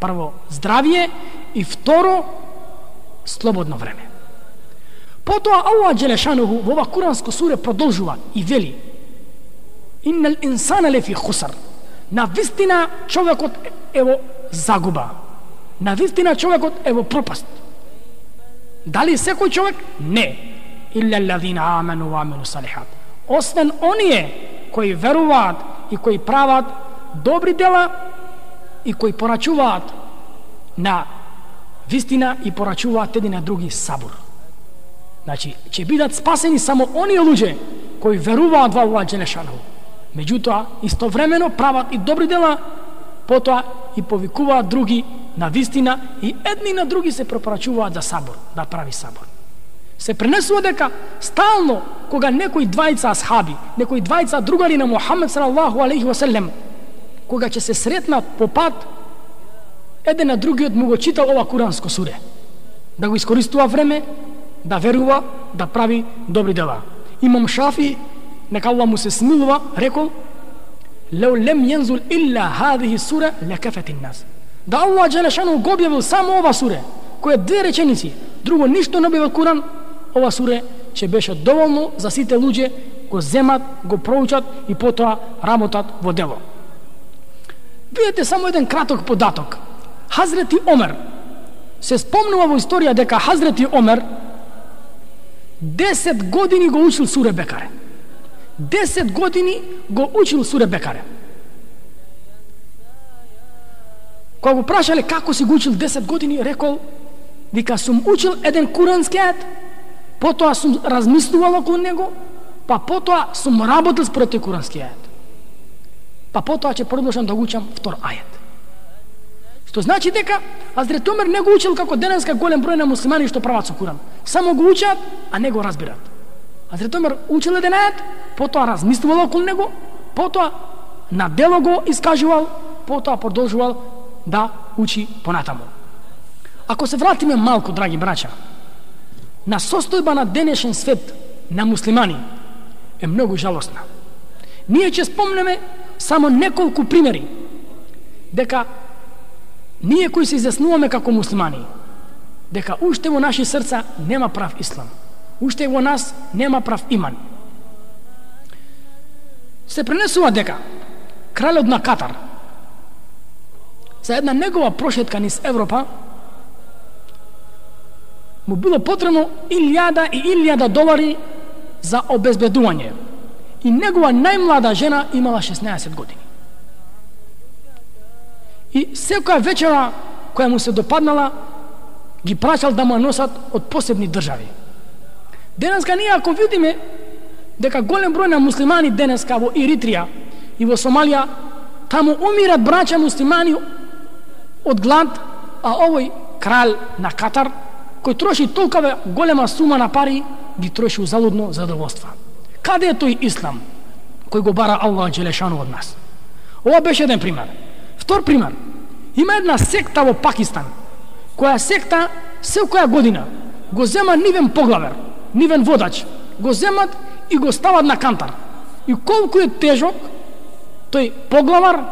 Прво, здравие, и второ, слободно време. Потоа Аллах Джелешануху во ова куранско суре продолжува и вели: "Иннал инсана лефи хусар." На вистина човекот е во загуба. На вистина човекот е во пропаст. Дали секој човек? Не. Илля аллазина амену ва амилу салихат. Освен оние кои веруваат и кои прават добри дела и кои порачуваат на вистина и порачуваат едни на други сабур. Значи, ќе бидат спасени само оние луѓе кои веруваат во Аллах Джелешану. Меѓутоа, истовремено прават и добри дела, потоа и повикуваат други на вистина и едни на други се препорачуваат за сабур, да прави сабур. Се пренесува дека стално кога некои двајца асхаби, некои двајца другари на Мухаммед салаллаху алейхи ва селем, кога ќе се сретнат по пат, еден на другиот му го читал ова куранско суре, да го искористува време, да верува, да прави добри дела. Имам Шафи, нека Аллах му се смилува, рекол: "Леу лем јензул илла хадихи сура лекафет нас." Да Аллах Джелешану го објавил само ова суре, која две реченици, друго ништо не објавил Куран, ова суре ќе беше доволно за сите луѓе го земат, го проучат и потоа работат во дело. Видете само еден краток податок. Хазрети Омер, се спомнува во историја дека Хазрети Омер десет години го учил суре Бекаре. десет години го учил суре Бекаре. Кога го прашале како си го учил десет години, рекол, вика, сум учил еден курански ајет, потоа сум размислувал околу него, па потоа сум работил според тој курански ајет. Па потоа ќе продолжам да го учам втор ајет. Што значи дека Хазрет Омер не го учил како денеска голем број на муслимани што прават со Куран. Само го учат, а не го разбират. Хазрет Омер учил еден ајет, потоа размислувал околу него, потоа на дело го искажувал, потоа продолжувал да учи понатаму. Ако се вратиме малку, драги браќа, на состојба на денешен свет на муслимани е многу жалосна. Ние ќе спомнеме само неколку примери дека ние кои се изјаснуваме како муслимани, дека уште во наши срца нема прав ислам, уште во нас нема прав иман. Се пренесува дека кралот на Катар за една негова прошетка низ Европа му било потребно илјада и илјада долари за обезбедување. И негова најмлада жена имала шеснаесет години. И секоја вечера која му се допаднала, ги прашал да му носат од посебни држави. Денеска ние ако видиме дека голем број на муслимани денеска во Еритрија и во Сомалија, таму умират браќа муслимани од глад, а овој крал на Катар, кој троши толкова голема сума на пари, ги троши узалудно задоволства. Каде е тој ислам кој го бара Аллах Джелешану од нас? Ова беше еден пример. Втор пример. Има една секта во Пакистан, која секта секоја година го зема нивен поглавер, нивен водач, го земат и го стават на кантар. И колку е тежок тој поглавар,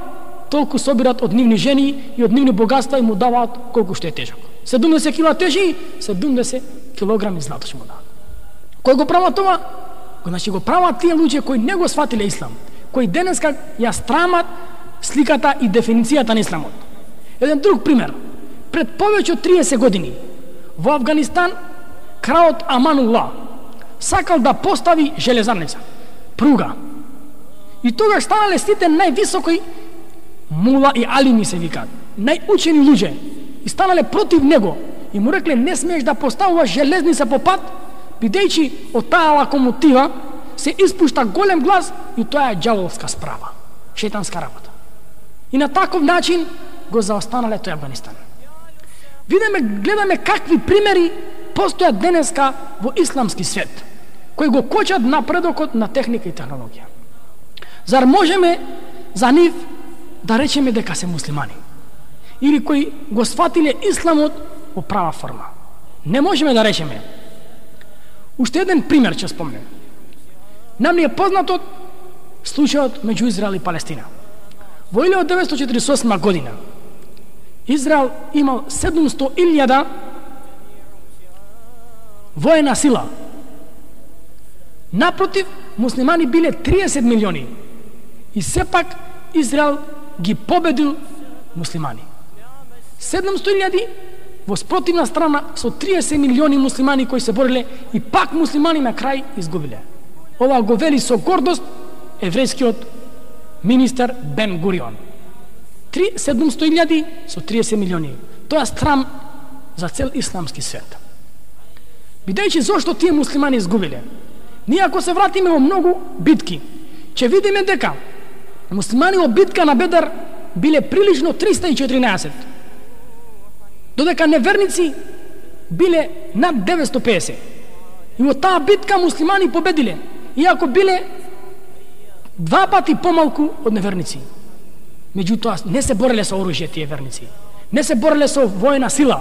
толку собират од нивни жени и од нивни богатства и му даваат колку што е тежок. седумдесет кила тежи, седумдесет килограми злато ќе му дават. Кој го прават това? Значи го прават тие луѓе кои не го сватиле ислам, кои денеска ја страмат сликата и дефиницијата на исламот. Еден друг пример. Пред повеќе од триесет години во Афганистан кралот Аманулла сакал да постави железарница, пруга. И тогаш станале сите највисоки мула и алими се викаат, најучени луѓе, и станале против него и му рекле не смееш да поставуваш железница по пат, бидејќи од таа локомотива се испушта голем глас и тоа е ѓаволска справа, шејтанска работа. И на таков начин го заостанале тој Афганистан. Видиме, гледаме какви примери постојат денеска во исламски свет, кои го кочат напредокот на техника и технологија. Зар можеме за нив да речеме дека се муслимани? Или кои го сватиле исламот во права форма? Не можеме да речеме. Уште еден пример ќе спомнем. Нам ни е познатот случајот меѓу Израел и Палестина. Во илјада деветстотини четиридесет и осма година Израел имал седумсто илјада воена сила. Напротив, муслимани биле триесет милиони. И сепак Израел ги победил муслимани. седумсто илјади во спротивна страна со триесет милиони муслимани кои се бориле и пак муслимани на крај изгубиле. Ова го вели со гордост еврејскиот министер Бен Гурион. седумсто илјади со триесет милиони. Тоа е срам за цел исламски свет. Бидејќи зошто тие муслимани изгубиле? Ние ако се вратиме во многу битки, ќе видиме дека муслимани во битка на Бедр биле прилично триста и четиринаесет, додека неверници биле над деветсто педесет. И во таа битка муслимани победиле, иако биле два пати помалку од неверници. Меѓутоа не се бореле со оружје тие верници, не се бореле со воена сила,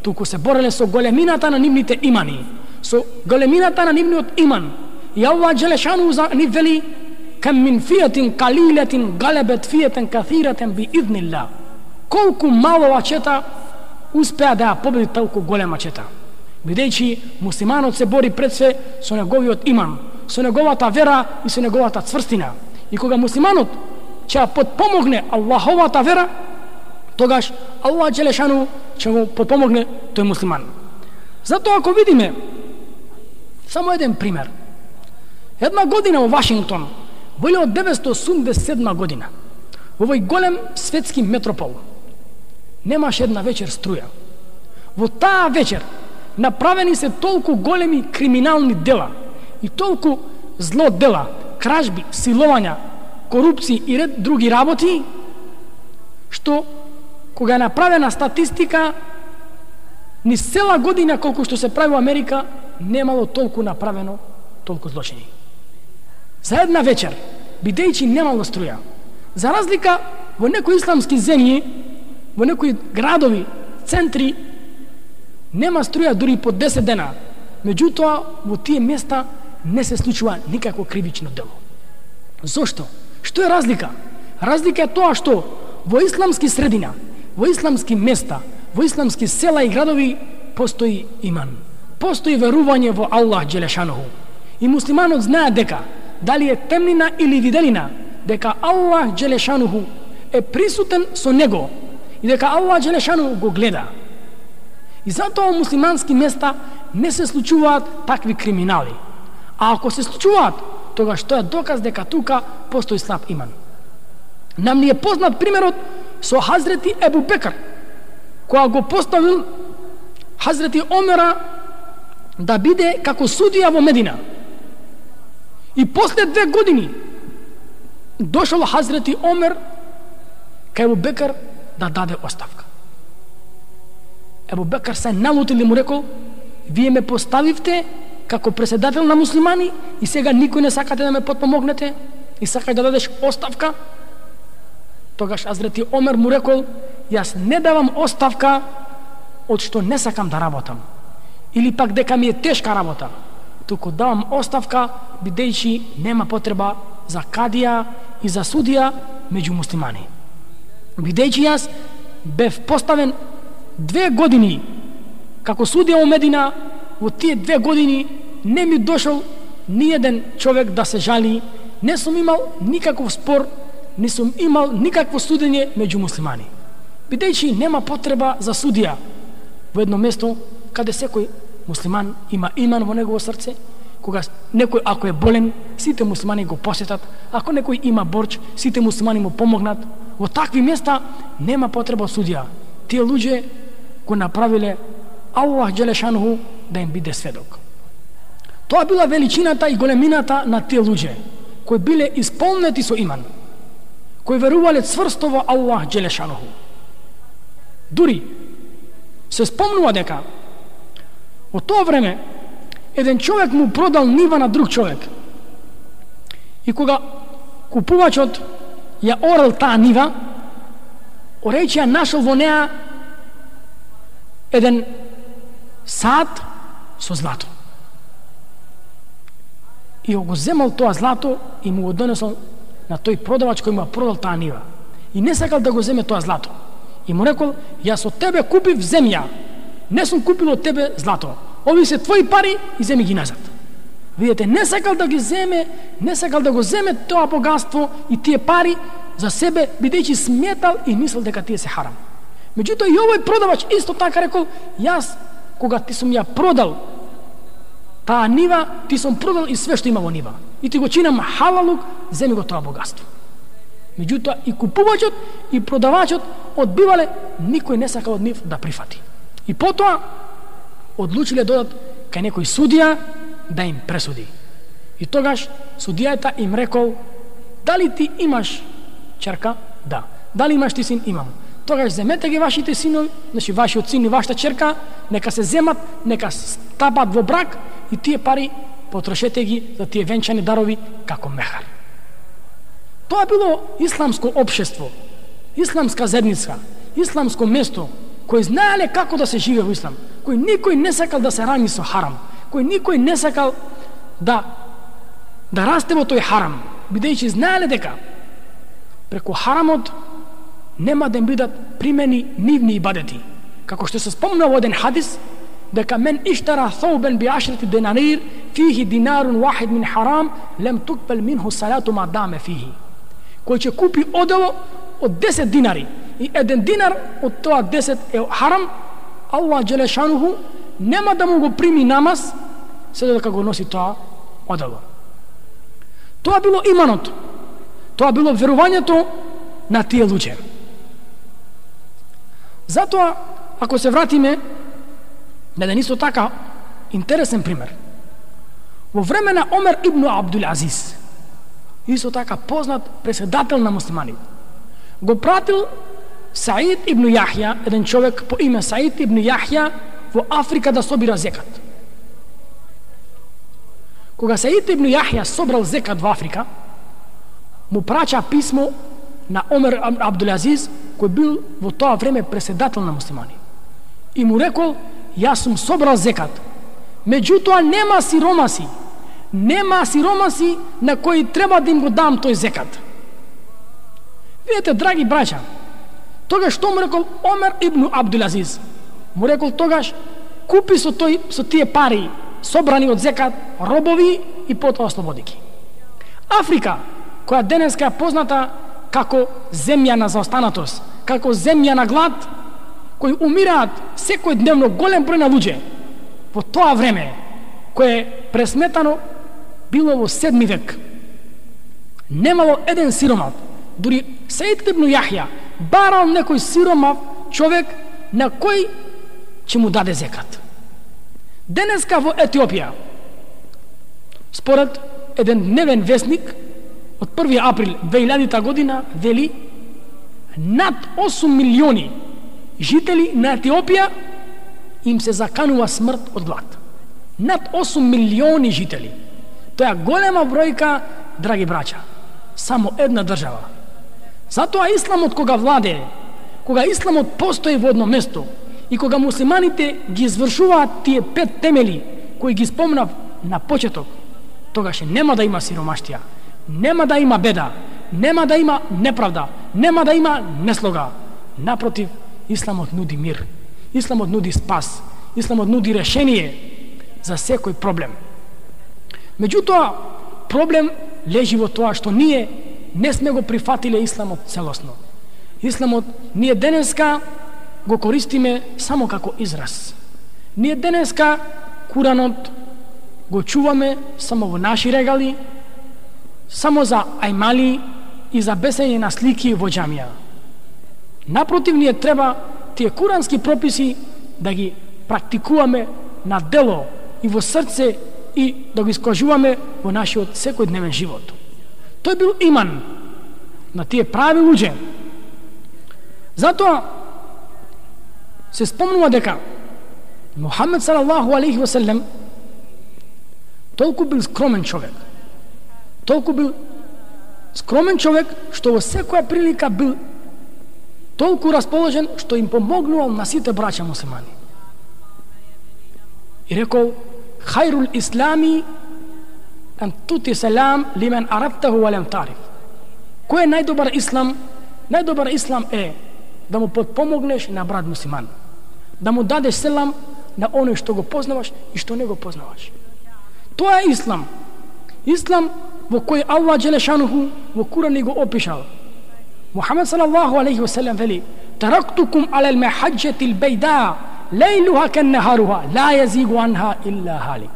туку се бореле со големината на нивните имани, со големината на нивниот иман. И Аллах Джелешану за ни вели: кам мин фијатин калилетин галебет фијатен каthиратен би иднилла. Колку мало ачета успеа да ја победи толку голема чета. Бидејќи муслиманот се бори пред све со неговиот иман, со неговата вера и со неговата цврстина. И кога муслиманот ќе ја подпомогне Аллаховата вера, тогаш Аллах Джелешану ќе го подпомогне тој муслиман. Затоа ако видиме само еден пример. Една година во Вашингтон, во илјада деветстотини осумдесет и седма година, во овој голем светски метропол, немаше една вечер струја. Во таа вечер направени се толку големи криминални дела и толку зло дела, кражби, силовања, корупција и ред други работи, што кога е направена статистика, ни цела година колку што се прави во Америка, немало толку направено, толку злочини. За една вечер, бидејќи немало струја, за разлика во некои исламски земји, во некои градови, центри, нема струја дури по десет дена. Меѓутоа, во тие места не се случува никакво кривично дело. Зошто? Што е разлика? Разлика е тоа што во исламски средина, во исламски места, во исламски села и градови постои иман. Постои верување во Аллах Джелешануху. И муслиманот знае дека, дали е темнина или виделина, дека Аллах Джелешануху е присутен со него и дека Аллах Джелешануху го гледа. И затоа во муслимански места не се случуваат такви криминали. А ако се случуваат, тогаш тоа е доказ дека тука постои слаб иман. Нам ни е познат примерот со Хазрети Ебу Бекр, која го поставил Хазрети Омера да биде како судија во Медина. И после две години дошол Хазрети Омер кај Ебу Бекр да даде оставка. Ебу Бекр се налутил и му рекол: вие ме поставивте како председател на муслимани и сега никој не сакате да ме потпомогнете и сакате да дадеш оставка? Тогаш Хазрети Омер му рекол: јас не давам оставка од што не сакам да работам или пак дека ми е тешка работа, туку давам оставка бидејќи нема потреба за кадија и за судија меѓу муслимани. Бидејќи јас бев поставен две години како судија во Медина, во тие две години не ми дошол ниеден човек да се жали, не сум имал никаков спор, не сум имал никакво судење меѓу муслимани. Бидејќи нема потреба за судија во едно место каде секој муслиман има иман во негово срце, кога некој ако е болен, сите муслимани го посетат, ако некој има борч, сите муслимани му помогнат. Во такви места нема потреба судија. Тие луѓе го направиле Аллах Джелешануху да им биде сведок. Тоа била величината и големината на тие луѓе, кои биле исполнети со иман, кои верувале цврсто во Аллах Джелешануху. Дури се спомнува дека во тоа време еден човек му продал нива на друг човек. И кога купувачот ја орал таа нива, орејќи ја нашол во неа еден сад со злато. И го земал тоа злато и му го донесол на тој продавач кој му ја продал таа нива. И не сакал да го земе тоа злато. И му рекол: јас од тебе купив земја, не сум купил од тебе злато. Ови се твои пари и земи ги назад. Видете, не сакал да ги земе, не сакал да го земе тоа богатство и тие пари за себе, бидејќи сметал и мислел дека тие се харам. Меѓутоа и овој продавач исто така рекол: јас кога ти сум ја продал таа нива, ти сум продал и све што има во нива. И ти го чинам халалук, земи го тоа богатство. Меѓутоа и купувачот и продавачот одбивале, никој не сакал од нив да прифати. И потоа одлучиле додат кај некој судија да им пресуди. И тогаш судијата им рекол: дали ти имаш черка? Да. Дали имаш ти син? Имам. Тогаш земете ги вашите синови, значи вашиот син и вашата черка, нека се земат, нека стапат во брак и тие пари потрошете ги за тие венчани дарови како мехар. Тоа било исламско општество, исламска заедница, исламско место, кој знаеле како да се живее во ислам, кој никој не сакал да се рани со харам, кој никој не сакал да да расте во тој харам, бидејќи знаеле дека преку харамот нема да им бидат примени нивни ибадети. Како што се спомна во еден хадис, дека мен иштара thawban би ашрати динарир фихи динарун вахид мин харам лем тукбал минху салату ма даме фихи. Кој ќе купи одело од десет динари и еден динар од тоа десет е харам, Аллах Джелешануху нема да му го прими намаз се додека го носи тоа одело. Тоа било иманот, тоа било верувањето на тие луѓе. Затоа, ако се вратиме на еден исто така интересен пример, во време на Омер ибн Абдул Азиз, исто така познат председател на муслиманите, го пратил Саид ибн Јахја, еден човек по име Саид ибн Јахја, во Африка да собира зекат. Кога Саид ибн Јахја собрал зекат во Африка, му прача писмо на Омер Абдул Азиз, кој бил во тоа време председател на муслимани. И му рекол: јас сум собрал зекат, меѓутоа нема сиромаси, нема сиромаси на кои треба да им го дам тој зекат. Видете, драги браќа, тогаш што му рекол Омер ибн Абдул Азиз? Му рекол тогаш: купи со тој со тие пари собрани од зекат робови и потоа ослободи ги. Африка, која денеска е позната како земја на заостанатост, како земја на глад, кои умираат секој дневно голем број на луѓе, во тоа време, кое е пресметано било во седми век, немало еден сиромав. Дури Саид ибн Јахја барал некој сиромав човек на кој ќе му даде зекат. Денеска во Етиопија, според еден дневен вестник од први април две илјадита година, вели над осум милиони жители на Етиопија им се заканува смрт од глад. Над осум милиони жители. Тоа е голема бројка, драги браќа. Само една држава. Затоа исламот кога владее, кога исламот постои во едно место и кога муслиманите ги извршуваат тие пет темели кои ги спомнав на почеток, тогаш нема да има сиромаштија, нема да има беда, нема да има неправда, нема да има неслога. Напротив, исламот нуди мир, исламот нуди спас, исламот нуди решение за секој проблем. Меѓутоа, проблем лежи во тоа што ние не сме го прифатиле исламот целосно. Исламот ние денеска го користиме само како израз. Ние денеска Куранот го чуваме само во наши регали, само за ајмали и за бесење на слики во џамија. Напротив, ние треба тие курански прописи да ги практикуваме на дело и во срце и да го искажуваме во нашиот секојдневен живот. Тој бил иман на тие прави луѓе. Затоа се спомнува дека Мухамед салаллаху алейхи ва селем толку бил скромен човек. Толку бил скромен човек што во секоја прилика бил толку расположен што им помогнувал на сите браќа муслимани. И рекол: хајрул ислами ан тути селам лимен арабтаху ва лем тариф. Кој е најдобар ислам? Најдобар ислам е да му подпомогнеш на брат муслиман, да му дадеш селам на оној што го познаваш и што не го познаваш. Тоа е ислам. Ислам во кој Аллах Джелешануху во Куран го опишал. Мухамед салаллаху алейхи ва селем вели: тарактукум алал махаджатил бейда лейлуха каннахаруха ла јазигу анха илла халик.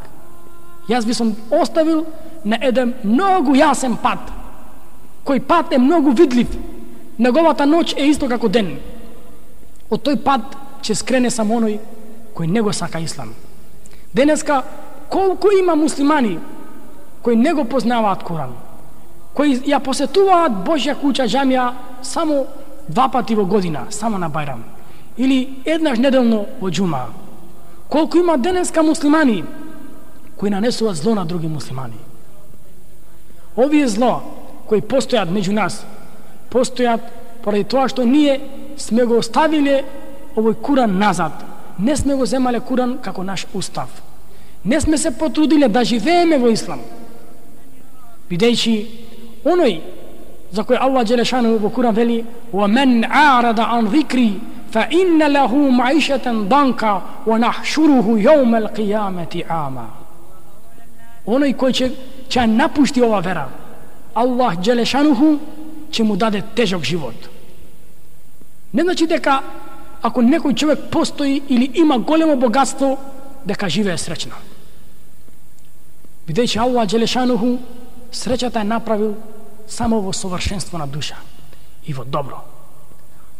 Јас би сум оставил на еден многу јасен пат, кој пат е многу видлив. Неговата ноќ е исто како ден. Од тој пат ќе скрене само оној кој не го сака ислам. Денеска колку има муслимани кои не го познаваат Куран, кои ја посетуваат Божја куќа џамија само два пати во година, само на Бајрам, или еднаш неделно во џума. Колку има денеска муслимани кои нанесуваат зло на други муслимани. Овие зло кои постојат меѓу нас, постојат поради тоа што ние сме го оставиле овој Куран назад. Не сме го земале Куран како наш устав. Не сме се потрудиле да живееме во ислам. Бидејќи оној за кој Аллах Джелешану во Куран вели: وَمَنْ عَارَضَ عَنْ ذِكْرِي فَإِنَّ لَهُ مَعِيشَةً ضَنْكَ وَنَحْشُرُهُ يَوْمَ الْقِيَامَةِ عَامًا. Оној кој ќе, ќе напушти ова вера, Аллах Джелешануху ќе му даде тежок живот. Не значи дека ако некој човек постои или има големо богатство, дека живее среќно. Бидејќи Аллах Джелешануху среќата е направил само во совршенство на душа и во добро.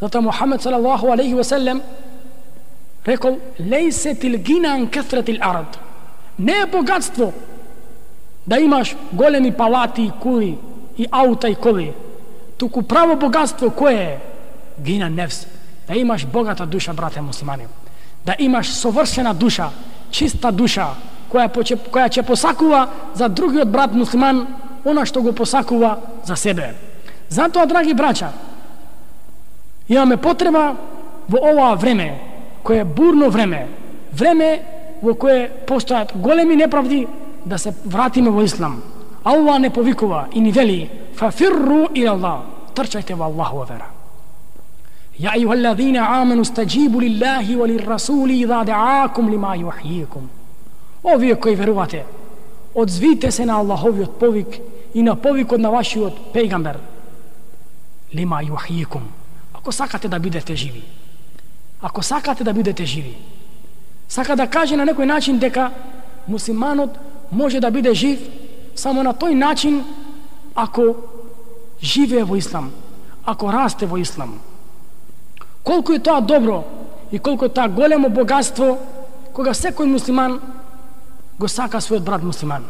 Zato Muhammed sallallahu alaihi wa sallam rekol: lejsetil ginan kethretil ard. Не е богатство да имаш големи палати и кули и аута и коли, туку право богатство кое е? Гина нефс. Да имаш богата душа, брате муслимани. Да имаш совршена душа, чиста душа, која, која ќе посакува за другиот брат муслиман она што го посакува за себе. Затоа, драги браќа, имаме потреба во ова време, кое е бурно време, време во кое постојат големи неправди, да се вратиме во ислам. Аллах не повикува и ни вели: фафирру ила Аллах, трчајте во Аллахова вера. Ја ејухаллазина амену стаџибу лиллахи ва лиррасули иза даакум лима јухјикум. Овие кои верувате, одзвите се на Аллаховиот повик и на повикот на вашиот пејгамбер. Лима јухјикум. Ако сакате да бидете живи, ако сакате да бидете живи, сака да каже на некој начин дека муслиманот може да биде жив само на тој начин ако живее во ислам, ако расте во ислам. Колку е тоа добро и колку е тоа големо богатство кога секој муслиман го сака својот брат муслиман,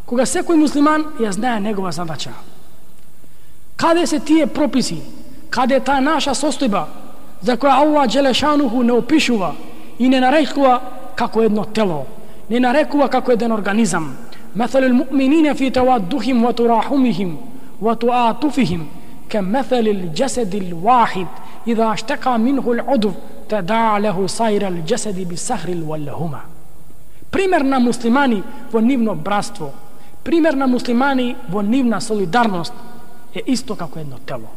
кога секој муслиман ја знае негова задача. Каде се тие прописи, каде е таа наша состојба за која Аллах Джелешануху не опишува и не нарекува како едно тело, не нарекува како еден организам. Металul mu'minina fi tawadduhim wa turahumihim wa tu'atufihim kamathalil jasadil wahid idha ashtaka minhu al-udw tada'a lahu sayra al-jasadi bis-sahri wal-lahuma. Пример на муслимани во нивно братство, пример на муслимани во нивна солидарност е исто како едно тело.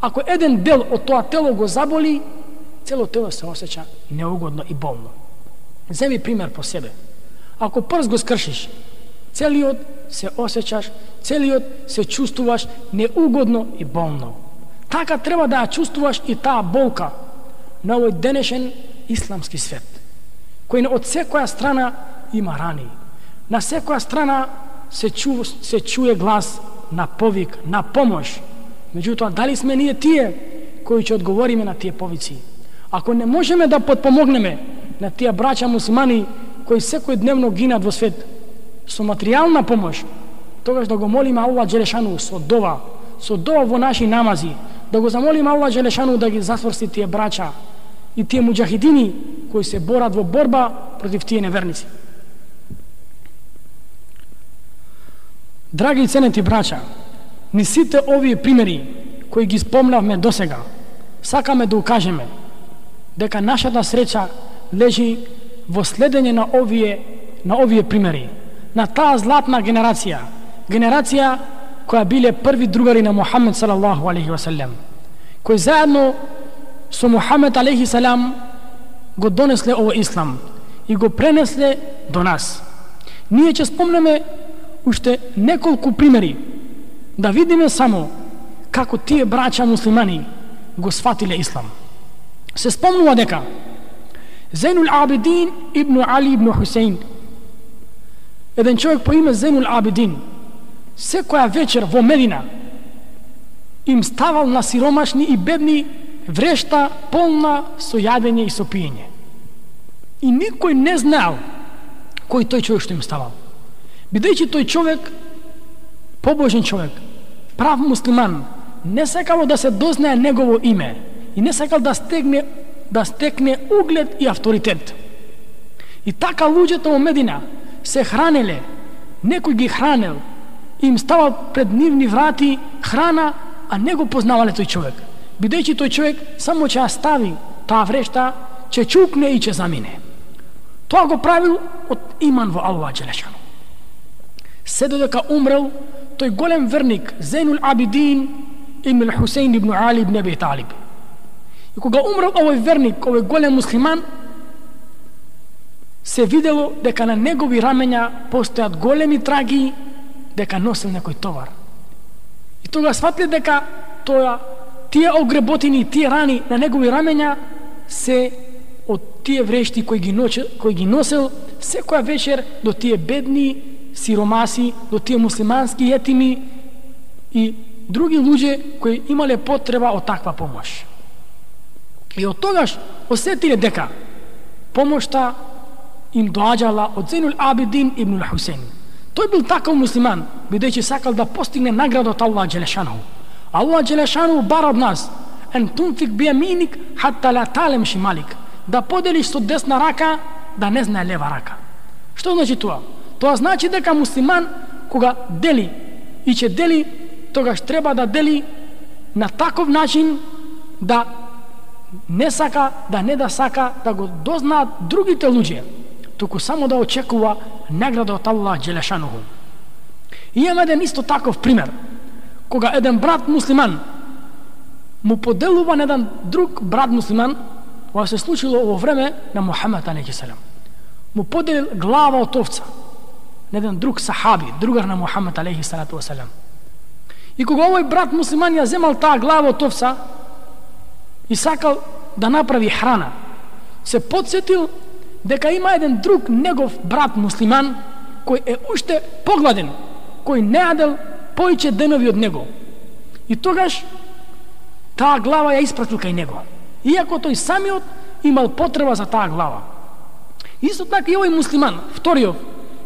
Ако еден дел од тоа тело го заболи, цело тело се осеќа неугодно и болно. Земи пример по себе. Ако прст го скршиш, целиот се осеќаш, целиот се чувствуваш неугодно и болно. Така треба да ја чувствуваш и таа болка на овој денешен исламски свет, кој од секоја страна има рани. На секоја страна се, чу, се чуе глас на повик, на помош. Меѓутоа, дали сме ние тие кои ќе одговориме на тие повици? Ако не можеме да подпомогнеме на тие браќа муслимани кои секој дневно гинат во свет со материјална помош, тогаш да го молиме Аллах Джелешану со дова, со дова во наши намази, да го замолиме Аллах Джелешану да ги засврсти тие браќа и тие муџахидини кои се борат во борба против тие неверници. Драги и ценети браќа, ни сите овие примери кои ги спомнавме досега, сакаме да укажеме дека нашата среќа лежи во следење на овие на овие примери, на таа златна генерација, генерација која биле први другари на Мухамед салаллаху алейхи ва салем, кои заедно со Мухамед алейхи салам го донесле овој ислам и го пренесле до нас. Ние ќе спомнеме уште неколку примери да видиме само како тие браќа муслимани го сватиле ислам. Се спомнува дека Зейнул Абидин ибн Али ибн Хусейн, еден човек по име Зейнул Абидин, секоја вечер во Медина им ставал на сиромашни и бедни врешта полна со јадење и со пиење. И никој не знаел кој тој човек што им ставал. Бидејќи тој човек, побожен човек, прав муслиман, не сакал да се дознае негово име и не сакал да стегне да стекне углед и авторитет. И така луѓето во Медина се хранеле, некој ги хранел, им ставал пред нивни врати храна, а не го познавале тој човек. Бидејќи тој човек само ќе ја стави таа врешта, ќе чукне и ќе замине. Тоа го правил од иман во Аллах Джелешану. Се додека умрел тој голем верник Зейнул Абидин ибн Хусейн ибн Али ибн Аби Талиб. И кога умрел овој верник, овој голем муслиман, се видело дека на негови рамења постојат големи траги, дека носел некој товар. И тога сватле дека тоа, тие огреботини, тие рани на негови рамења се од тие врешти кои ги, ноче, кои ги носел секоја вечер до тие бедни сиромаси, до тие муслимански етими и други луѓе кои имале потреба од таква помош. И од тогаш осетиле дека помошта им доаѓала од Зейнул Абидин ибн Хусейн. Тој бил таков муслиман, бидејќи сакал да постигне награда од Аллах Джелешану. Аллах Джелешану бара од нас ен тунфик бијаминик хатта ла талем шималик, да поделиш со десна рака, да не знае лева рака. Што значи тоа? Тоа значи дека муслиман кога дели и ќе дели, тогаш треба да дели на таков начин да не сака, да не да сака да го дознаат другите луѓе, туку само да очекува награда од Аллах Джелешануху. И има еден исто таков пример, кога еден брат муслиман му поделува на еден друг брат муслиман, ова се случило во време на Мухамед алейхи селам. Му поделил глава од овца на еден друг сахаби, другар на Мухамед алейхи салату васелам. И кога овој брат муслиман ја земал таа глава од овца и сакал да направи храна, се подсетил дека има еден друг негов брат муслиман кој е уште погладен, кој не јадел поиќе денови од него. И тогаш таа глава ја испратил кај него, иако тој самиот имал потреба за таа глава. Исто така и овој муслиман, вториот,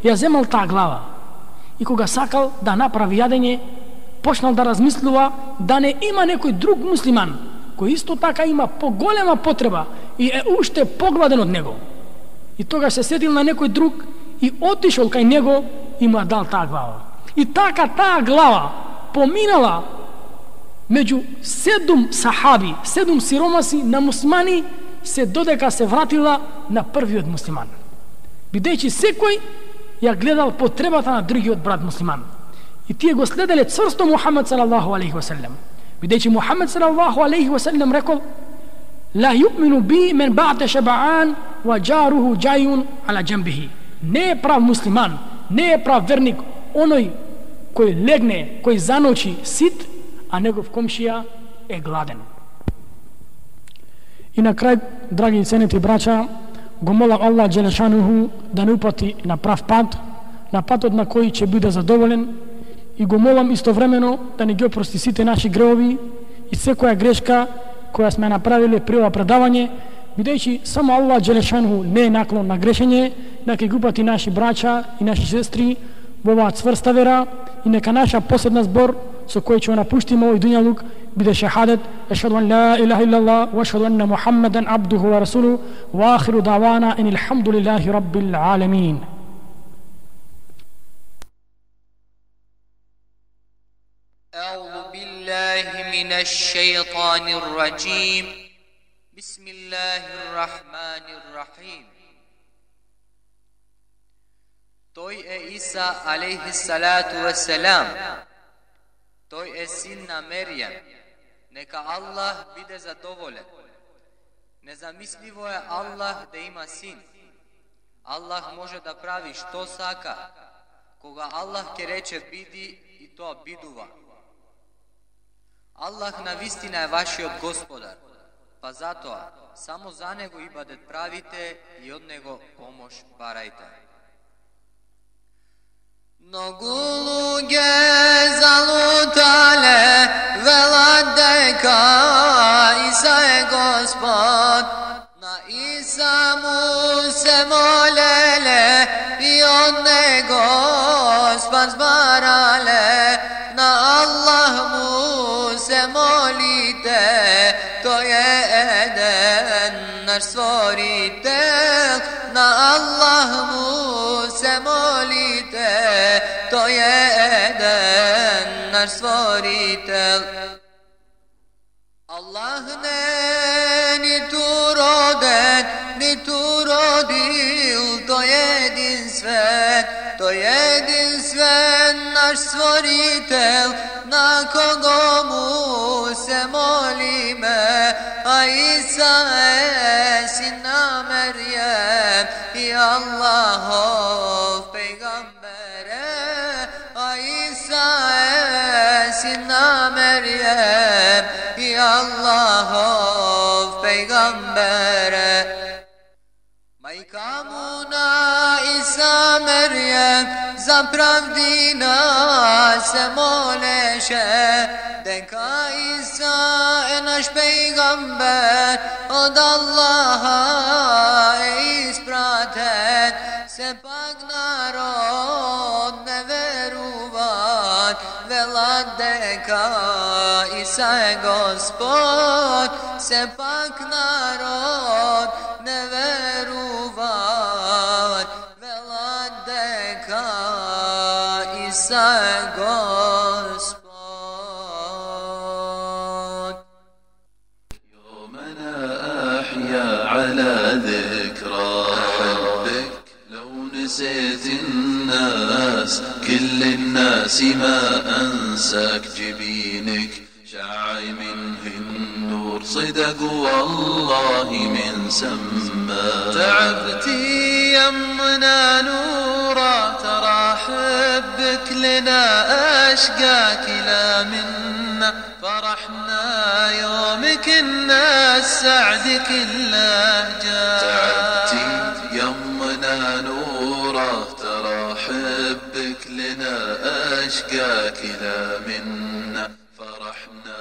ја земал таа глава и кога сакал да направи јадење, почнал да размислува да не има некој друг муслиман кој исто така има поголема потреба и е уште погладен од него. И тогаш се сетил на некој друг и отишол кај него и му дал таа глава. И така таа глава поминала меѓу седум сахаби, седум сиромаси на муслимани, се додека се вратила на првиот муслиман. Бидејќи секој ја гледал потребата на другиот брат муслиман. И тие го следеле цврсто Мухамед салаллаху алейхи васелем. Бидејќи Мухамед салаллаху алейхи васелем рекол: ла ю'мину би мен ба'те шабаан ва джаруху джајун ала джамбихи. Не е прав муслиман, не е прав верник оној кој легне, кој заночи сит, а негов комшија е гладен. И на крај, драги и ценети браќа, го молам Аллах Джелешануху да не упати на прав пат, на патот на кој ќе биде задоволен, и го молам истовремено да не ги опрости сите наши греови и секоја грешка која сме направиле при ова предавање, бидејќи само Аллах Джелешануху не е наклон на грешење, нека ги упати наши браќа и наши сестри во оваа цврста вера, и нека наша последна збор со кој ќе напуштиме овој дуњалук биде шахадет: ешхаду ан ла илаха иллаллах ва ешхаду анна Мухаммадан абдуху ва расулуху ва ахиру давана ан алхамдулиллахи раббил аламин. أعوذ بالله من الشيطان الرجيم بسم الله الرحمن الرحيم. Тој е Иса алейхи салату васелам. Тој е син на Меријам. Нека Аллах биде задоволен. Незамисливо е Аллах да има син. Аллах може да прави што сака. Кога Аллах ќе рече биди, и тоа бидува. Аллах навистина е вашиот Господар, па затоа само за Него ибадет правите и од Него помош барајте. Многу луѓе залутале, велат дека Иса е Господ, на Иса му се молеле и од Него спас барале, на Аллах му се молите, тој е еден наш створител, на Аллах му се молите, тој е еден наш створител. Аллах не ниту роден, ниту родил, тој е единствен, тој е единствен наш створител, на кого му се молиме, а Иса е син на Меријем и Аллахов пејгамбере, а Иса е син на Меријем и Аллахов пејгамбере. Мајка му на Иса Меријем za pravdi nas se moleše, deka Isa je naš pejgamber, od Allaha je ispratet, se pak narod ne veruvat, velat deka Isa je Gospod, se pak narod ne veruvat, velat deka Isa je Gospod. يومنا أحيا على ذكرى حبك لو نسيت الناس كل الناس ما أنساك جبينك شعي منه النور صدق والله من سما تعبتي يمنا نورا ترى حبك لنا أشقاك لا منا فرحنا يومك الناس سعد كله جاء تعبتي يمنا نورا ترى حبك لنا أشقاك لا منا فرحنا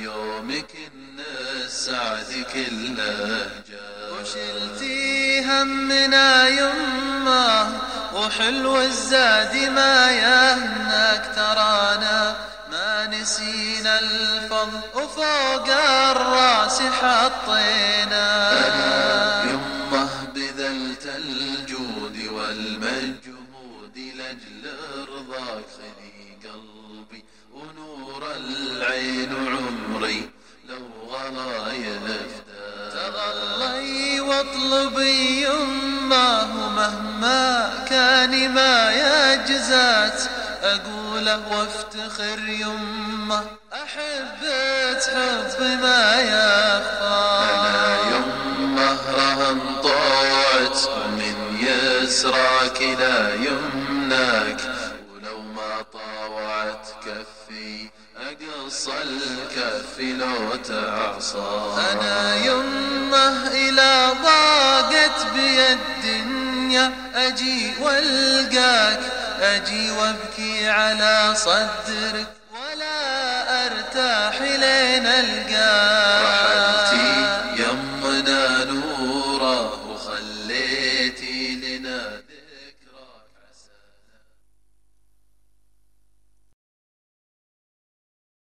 يومك الناس سعد كله جاء وشلتي همنا يمه وحلو الزاد ما يهناك ترانا ما نسينا الفضل وفوق الراس حطينا أنا يمه بذلت الجود والمجهود لأجل رضاك خلي قلبي ونور العين عمري لو غلايف تغلي واطلبي يمه مهما كان ما يجزات أقوله وافتخر يمه أحبت حب ما يخفى أنا يمه رهن طوعت من يسراك لا يمناك ولو ما طاوعت كفي أقص الكف لو تعصى أنا يمه إلى ضاقت بي الدنيا أجي والقاك أجي وابكي على صدرك ولا أرتاح لين ألقاك